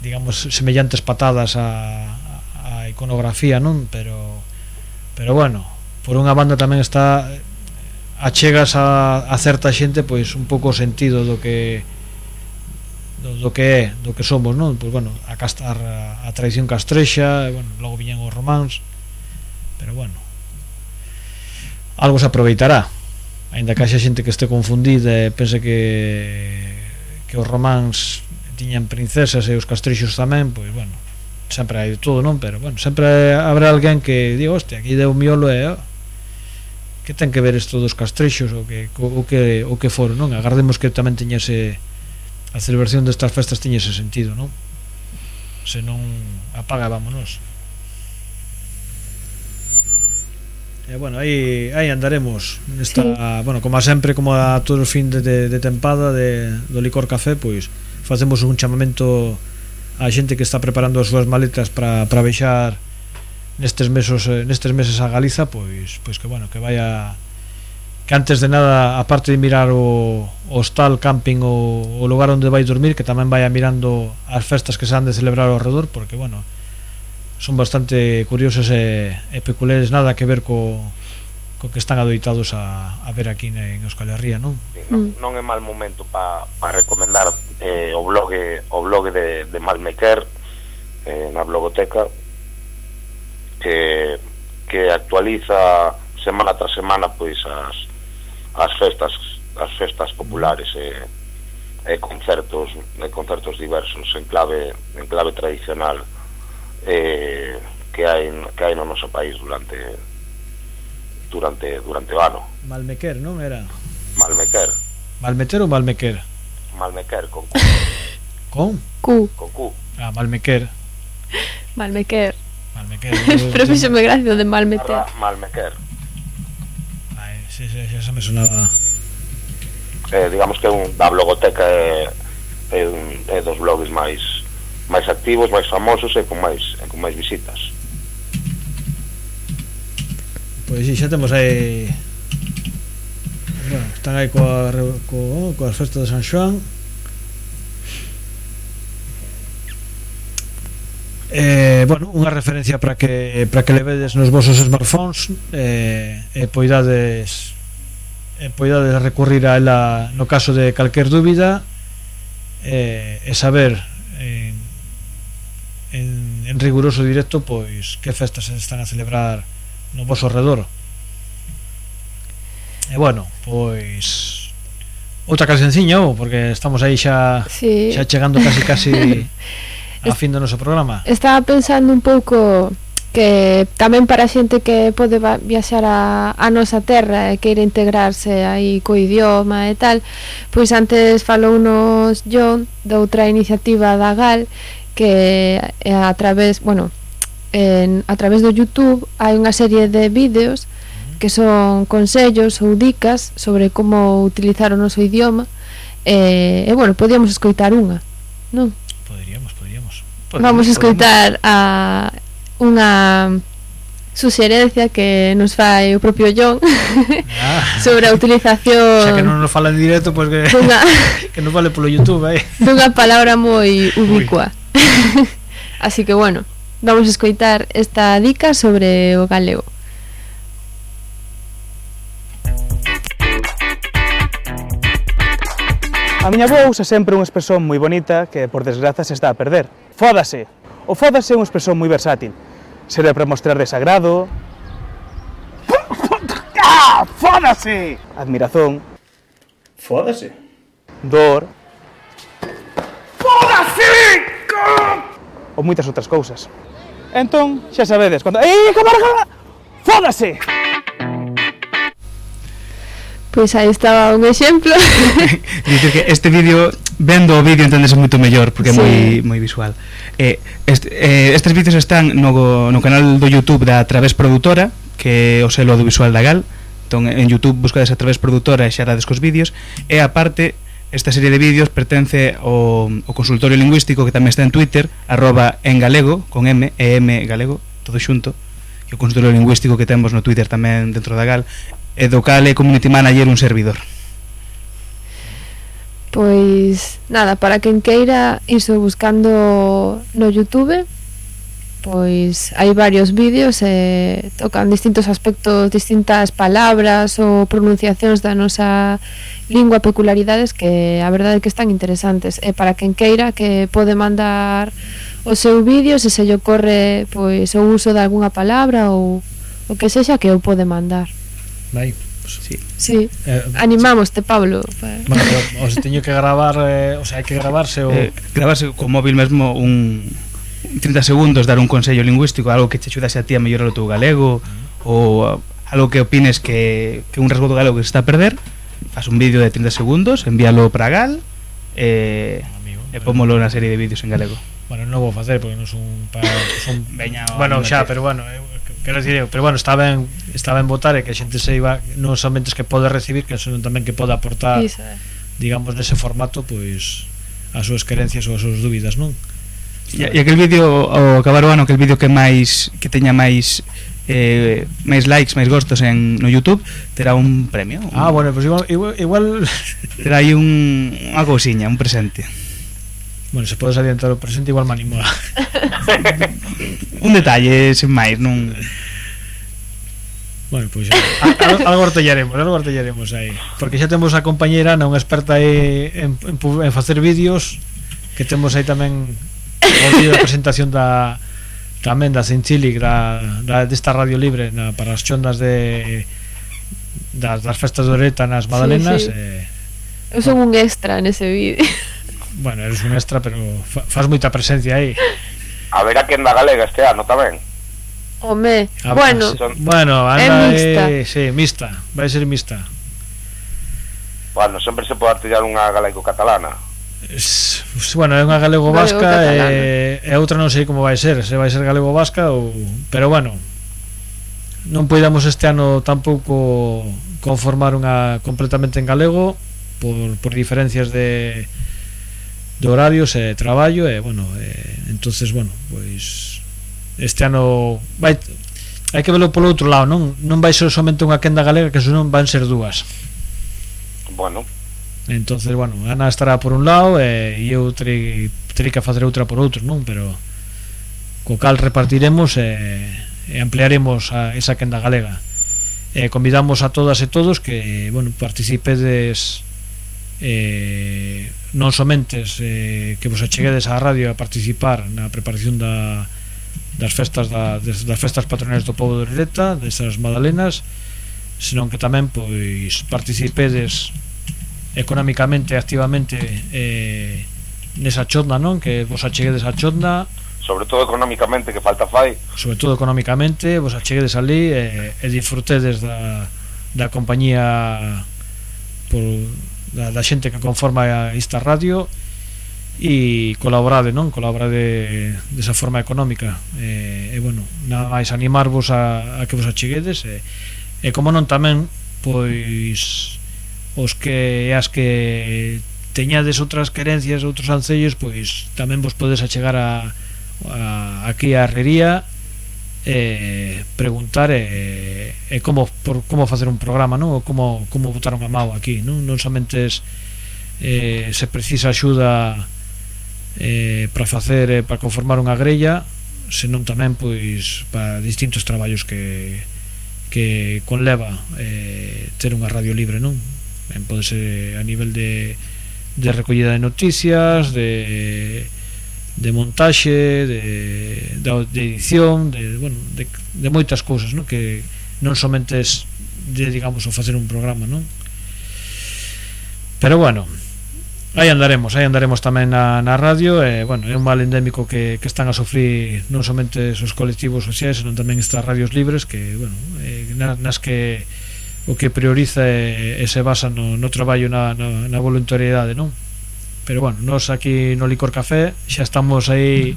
digamos, semellantes patadas a, a iconografía, non, pero pero bueno, por unha banda tamén está achegas a, a certa xente pois un pouco o sentido do que do, do que é, do que somos, non? Pois bueno, a castar a, a tradición castrexa, e, bueno, logo viñan os románs, pero bueno, algo se aproveitará, aínda que haxa xente que este confundida e pense que que os románs tiñan princesas e os castrexos tamén, pois bueno, sempre hai de todo, non? Pero bueno, sempre habrá alguén que diga, hostia, aquí deu miolo e oh, que ten que ver isto dos castrexos ou que, o que, o que foron, non? Agardemos que tamén teña ese, a celebración destas festas teña ese sentido, non? Se non apaga, vámonos. E bueno, aí, aí andaremos nesta, sí. Bueno, como sempre, como a todo o fin de, de, de tempada de, do Licor Café, pois facemos un chamamento a xente que está preparando as súas maletas para para vexar nestes meses nestes meses a Galiza, pois pois que bueno, que vaya, que antes de nada, aparte de mirar o, o hostal, camping ou o lugar onde vai dormir, que tamén vaya mirando as festas que se han de celebrar ao redor, porque bueno, son bastante curiosos e, e peculiares, nada que ver co, co que están adoitados a, a ver aquí en Euskal Herria, non? Sí, non, non é mal momento para pa recomendar eh, o blog o blog de, de Malmequer, eh, na blogoteca, que, que actualiza semana tras semana pois as, as festas as festas populares e, e concertos e concertos diversos en clave en clave tradicional eh, que hai que hai no noso país durante durante durante o ano. Malmequer, non era? Malmequer. Malmeter ou Malmequer? Malmequer con Q. Con? Q. Con Q. Ah, Malmequer. Malmequer. Malmequer. Pero fíxome gracia de Malmeter. Malmequer. Ai, sí, sí, sí, eso me sonaba. Eh, digamos que un da blogoteca é, é, un, é dos blogs máis máis activos, máis famosos e con máis e con máis visitas. Pois si, xa temos aí, bueno, están aí coa, co, coas festas de San Xoán. Eh, bueno, unha referencia para que para que levedes nos vosos smartphones eh, e poidades e poidades recurrir a ela no caso de calquer dúbida eh, e saber en, en, en riguroso directo pois que festas se están a celebrar no voso redor. E bueno, pois outra cancionciña, oh, porque estamos aí xa, sí. xa chegando casi casi a fin do noso programa. Estaba pensando un pouco que tamén para a xente que pode viaxar a, a nosa terra e queira integrarse aí co idioma e tal, pois antes falounos John de outra iniciativa da G A L que a través, bueno, en, a través do YouTube hai unha serie de vídeos que son consellos ou dicas sobre como utilizar o noso idioma e, e bueno, podíamos escoitar unha, non? Poderíamos, poderíamos, poderíamos Vamos a escoitar a unha suxerencia que nos fai o propio John ah. sobre a utilización, xa que non nos fala en directo, pois pues que, dunha, que nos vale polo YouTube eh? dunha palabra moi ubicua. Así que bueno, vamos a escoitar esta dica sobre o galego. A miña avó usa sempre unha expresión moi bonita que, por desgraza, se está a perder. Fódase. O fódase é unha expresión moi versátil. Serve para mostrar desagrado, ah, fódase! Admirazón, fódase. Dor, fódase! Ou moitas outras cousas. Entón, xa sabedes, cando... Ei, camarada! Fódase! Pois aí estaba un exemplo. Dice que este vídeo, vendo o vídeo entendese moito mellor porque é sí. moi moi visual. Eh, este, eh, estes vídeos están no, no canal do YouTube da Través Produtora, que é o selo audiovisual da G A L. Entón en YouTube buscades a Través Produtora e xa dades cos vídeos, e aparte esta serie de vídeos pertence ao, ao consultorio lingüístico que tamén está en Twitter, arroba en galego, con M, e M galego, todo xunto, e o consultorio lingüístico que temos no Twitter tamén dentro da Gal, e do cal é community manager un servidor. Pois nada, para quen queira iso buscando no YouTube, pois hai varios vídeos e tocan distintos aspectos, distintas palabras ou pronunciacións da nosa lingua, peculiaridades que a verdade é que están interesantes. E para quen queira que pode mandar o seu vídeo, se se lle ocorre pois o uso de algunha palabra ou o que sexa, que o pode mandar. Vai. Sí. Sí. Eh, Animámoste, Pablo. Bueno, o se teño que gravar, eh, o sea, hai que gravarse o eh, gravarse co móvil mesmo un trinta segundos, dar un consello lingüístico, algo que te axudase a ti a mellorar o teu galego, ou algo que opines que, que un rasgo do galego que se está a perder. Faz un vídeo de trinta segundos, envíalo para Gal e, e pómolo na serie de vídeos en galego. Bueno, non vou facer porque non son para son Veña, bueno, xa, pero bueno, eu, quero dicir, eu, pero bueno, está ben, está ben votar e que a xente se iba non somente que pode recibir, que senón tamén que pode aportar, Iso, eh. digamos, nese formato, pois as súas querencias ou as súas dúbidas, non? E, e aquel vídeo ao acabar o ano, aquel vídeo que máis que teña máis eh, máis likes, máis gostos en no YouTube, terá un premio. Un, ah, bueno, pues igual igual, igual... terá aí un unha cousiña, un presente. Bueno, se podes adiantar o presente, igual me animo a... un detalle, sen máis, non... Bueno, pois pues, algo artellaremos, algo artellaremos aí, porque xa temos a compañeira Ana, unha experta aí en, en, en facer vídeos, que temos aí tamén o vídeo da presentación da tamén da Cincilic, da, da desta Radio Libre na, para as chondas de das, das festas de Oreta nas Madalenas. Sí, sí. Eh, Eu son un extra nese vídeo. Bueno, eres un extra, pero fa, faz moita presencia aí. A ver a quen da galega este ano tamén. Home, ah, bueno, sí. Bueno, anda, é mixta. Eh, sí, mixta, vai ser mixta. Bueno, sempre se pode artillar unha galaico-catalana. Es, bueno, é unha galego-vasca e, e outra non sei como vai ser, se vai ser galego-vasca ou... Pero bueno, non poidamos este ano tampouco conformar unha completamente en galego por, por diferencias de de horarios e traballo e bueno, e, entonces bueno, pois este ano vai, hai que velo polo outro lado, non non vai ser somente unha quenda galega, que senón van ser dúas. Bueno, entonces, bueno, Ana estará por un lado e eu terei, terei que facer outra por outro, non? Pero co cal repartiremos e, e ampliaremos a esa quenda galega. E convidamos a todas e todos que, bueno, participedes eh, non somente eh, que vos acheguedes á radio a participar na preparación da, das festas da, das, das festas patronais do pobo de Oreta, desas Madalenas, senón que tamén pois participedes económicamente, activamente eh, nesa chonda, non? Que vos acheguedes a chonda, sobre todo económicamente, que falta fai. Sobre todo económicamente, vos acheguedes ali e, e disfrutedes da, da compañía por, da, da xente que conforma esta radio e colaborade, non? Colaborade desa forma económica e, e bueno, nada máis animarvos a, a que vos acheguedes e, e como non tamén pois os que as que teñades outras querencias, outros ancellos, pois tamén vos podes achegar a, a aquí a Herrería e preguntar e, e como por, como facer un programa, non? Ou como como botar unha mao aquí, non? Non somente es, eh, se precisa axuda eh, para facer eh, para conformar unha grella, senón tamén pois para distintos traballos que que conleva eh, ter unha radio libre, non? Ben, pode ser a nivel de, de recollida de noticias, de, de montaxe, de, de, de edición, de, bueno, de, de moitas cousas, non? Que non somente es de, digamos, o facer un programa, non? Pero bueno, aí andaremos, aí andaremos tamén na, na radio e, bueno, é un mal endémico que, que están a sufrir non somente os colectivos sociais, senón tamén estas radios libres que, bueno, eh, nas que o que prioriza e, e se basa no, no traballo na, na, na voluntariedade, non? Pero bueno, nós aquí no Licor Café xa estamos aí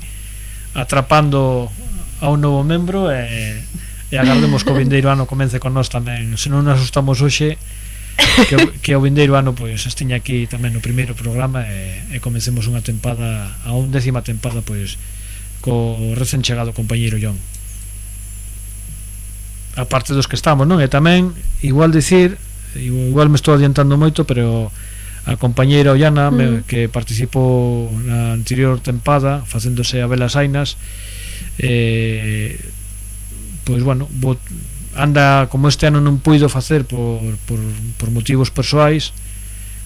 atrapando a un novo membro e, e agardemos que o vindeiro ano comece con nós tamén. Se non nos asustamos hoxe, que, que o vindeiro ano pois estiña aquí tamén no primeiro programa e, e comecemos unha tempada, a undécima tempada pois co recén chegado compañeiro John, a parte dos que estamos, non? E tamén igual dicir, igual me estou adiantando moito, pero a compañeira Ollana, mm. me, que participou na anterior tempada facéndose a velas ainas, eh, pois bueno, bot, anda, como este ano non puido facer por, por, por motivos persoais,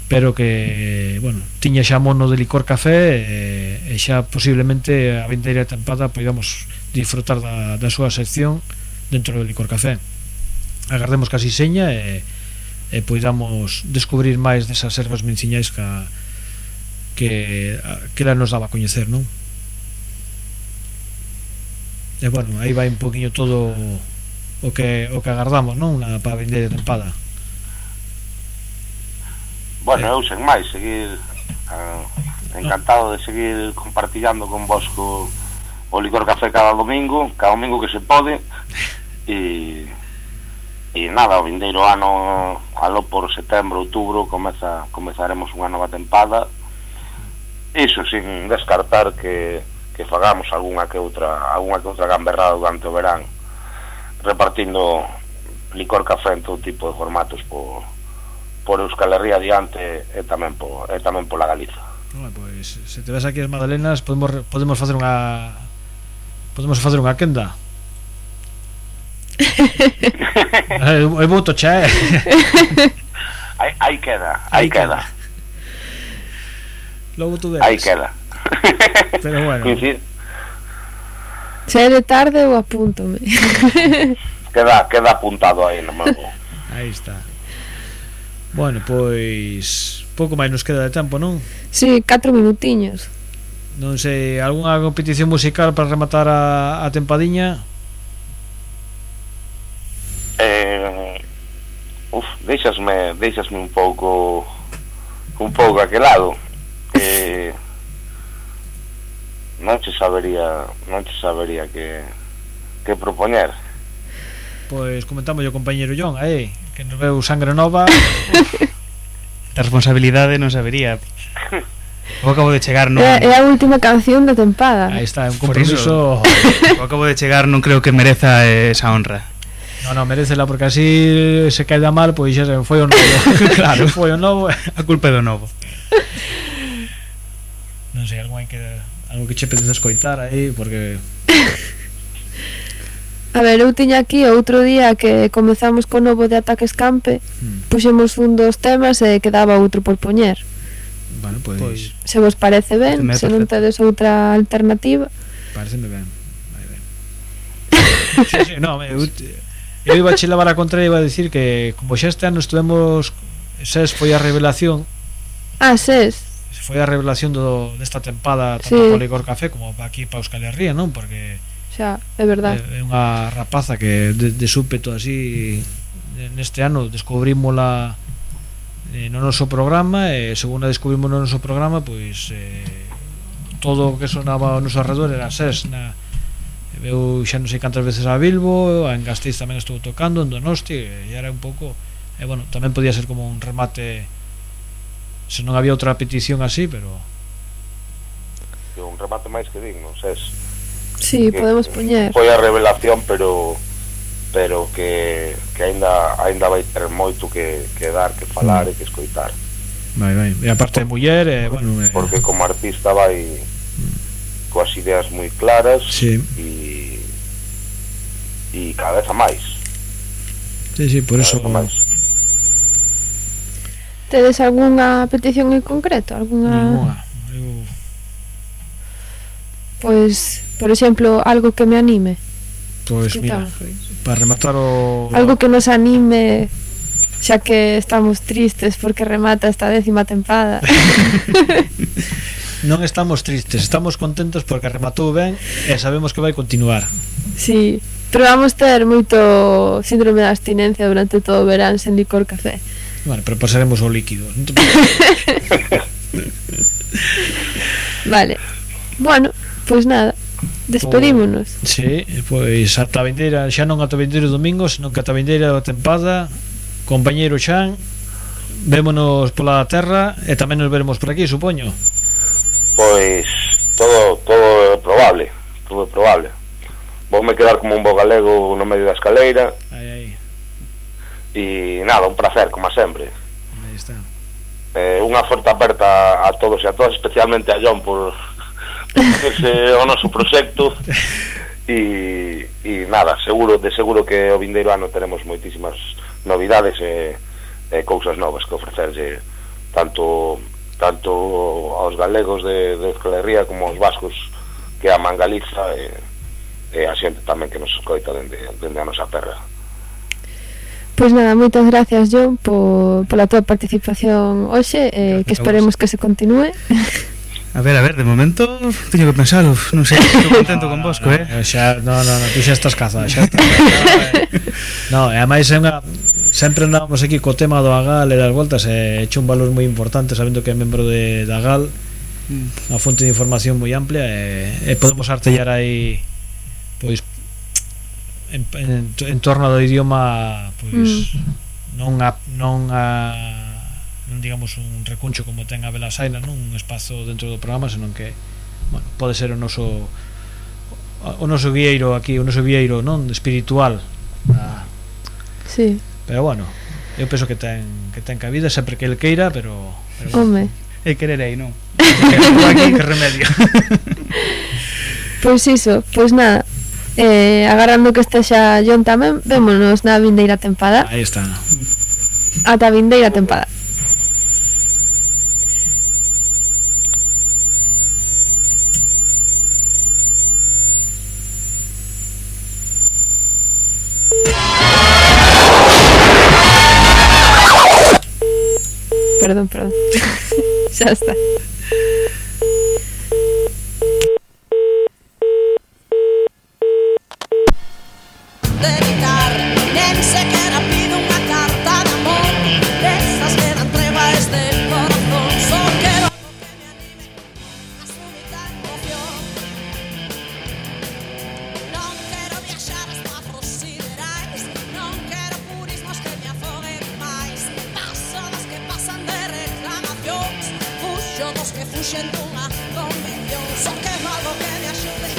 pero que, bueno, tiña xa mono de licor café e, e xa posiblemente a vindeira tempada podamos disfrutar da, da súa sección dentro do licor café. Agardemos que así seña e, e podamos descubrir máis desas ervas menciñais que, que, que ela nos daba a coñecer, non? E, bueno, aí vai un poquinho todo o que o que agardamos, non, na para vindeira tempada. Bueno, eu sen máis seguir uh, encantado de seguir compartillando con vos co, o licor café cada domingo, cada domingo que se pode, e e nada, o vindeiro ano aló por setembro, outubro comeza, comezaremos unha nova tempada, iso sin descartar que, que fagamos algunha que outra algunha que outra gamberrada durante o verán, repartindo licor café en todo tipo de formatos por, por Euskal Herria adiante e tamén por, e tamén pola Galiza. Bueno, pois, se te ves aquí as magdalenas podemos, podemos facer unha podemos facer unha quenda. É moito xa, eh? Aí, aí queda, aí queda. Logo tú veres. Aí queda. Pero bueno. Se é de tarde ou apúntome. Queda, queda apuntado aí no meu. Aí está. Bueno, pois pouco máis nos queda de tempo, non? Si, sí, catro minutiños. Non sei, algunha competición musical para rematar a, a tempadiña? Eh, uf, deixasme, deixasme un pouco un pouco aquelado. Eh, non che sabería, non che sabería que que propoñer. Pois comentamos o compañeiro John, aí, que nos veu sangre nova. A responsabilidade non sabería. Eu acabo de chegar, non... É, é a última canción da tempada. Aí está, é un compromiso. Eu acabo de chegar, non creo que mereza esa honra. No, no, merecela, porque así se cae mal, pois xa foi o novo. Claro, foi o novo, a culpa é do novo. Non sei, algo que algo que che pedes escoitar aí, porque a ver, eu tiña aquí outro día que comezamos co novo de Ataque Escampe, hmm. puxemos un dos temas e quedaba outro por poñer. Bueno, pois pues, se vos parece ben, se non tedes outra alternativa. Pareceme ben. Vai ben. Sí, sí, no, eu, eu iba a che levar a contra e iba a decir que como xa este ano estuvemos, SES foi a revelación. Ah, SES. Foi a revelación do, desta tempada tanto sí. Para Licor Café como para aquí para Euskal Herria, non? Porque xa, é verdade. É, é unha rapaza que de, de súpeto así neste ano descubrímola eh, no noso programa e según a descubrimos no noso programa, pois eh, todo o que sonaba ao noso alrededor era SES. Na, eu xa non sei cantas veces a Bilbo, en Gasteiz tamén estuvo tocando, en Donosti, e era un pouco, e bueno, tamén podía ser como un remate se non había outra petición así, pero un remate máis que digno, SES. Sí, que podemos poñer. Foi a revelación, pero pero que que aínda aínda vai ter moito que que dar, que falar mm. e que escoitar. Vai, vai. E aparte de muller, eh, bueno, eh... porque como artista vai mm. coas ideas moi claras sí. e e cada vez a máis. Sí, sí, por cada eso máis. Tedes algunha petición en concreto? Alguna... Ninguna. Eu... Pois, por exemplo, algo que me anime. Pois mira, para rematar o... Algo que nos anime, xa que estamos tristes porque remata esta décima tempada. Non estamos tristes, estamos contentos porque rematou ben e sabemos que vai continuar. Sí, pero vamos ter moito síndrome de abstinencia durante todo o verán sen licor café. Bueno, pero pasaremos o líquido. Vale. Bueno, pois nada, despedímonos. O, sí, pois ata a vindeira, xa non ata a vindeira domingo, senón que ata a vindeira da tempada, compañeiro Xan, vémonos pola terra e tamén nos veremos por aquí, supoño. Pois todo todo é probable, todo é probable. Voume quedar como un bo galego no medio da escaleira. Aí, aí. E nada, un placer, como sempre. Aí está. Eh, unha forte aperta a todos e a todas, especialmente a John por, por ese o noso proxecto. E, e nada, seguro, de seguro que o vindeiro ano teremos moitísimas novidades e, e cousas novas que ofrecerlle tanto tanto aos galegos de, de Euskal Herria como aos vascos que aman Galiza e, e a xente tamén que nos escoita dende, dende a nosa terra. Pois nada, moitas gracias, John, por, pola tua participación hoxe, eh, que esperemos que se continúe. A ver, a ver, de momento teño que pensalo, non sei, estou contento con Bosco, eh? Xa, no, no, no, tú xa estás cazada, xa estás cazada. No, e ademais é unha sempre andamos aquí co tema do Agal e das voltas e hecho un valor moi importante sabendo que é membro de, de Agal, unha fonte de información moi amplia e, e podemos artellar aí pois en, en, en torno do idioma pois mm. non a, non a non digamos un recuncho como ten a Belasaina, non un espazo dentro do programa, senón que bueno, pode ser o noso o noso guieiro aquí, o noso guieiro non espiritual. Ah. Sí. Pero bueno, eu penso que ten que ten cabida sempre que el queira, pero, pero bueno. Home, e quererei, non? Aquí que remedio. Pois iso, pois nada. Eh, agarrando que este xa John tamén, vémonos na vindeira tempada. Aí está. Ata a vindeira tempada. Perdón, perdón. Xa está. Dedicar, nen sequera pido unha carta de amor, desas que dan treva a este corazón. Só quero algo que me anime a súbita emoción. Non quero viaxar hasta afros siderais, non quero purismos que me afoguen máis. Paso das que pasan de reclamacións, fuxo dos que fuxen dunha convención. Só quero algo que me axude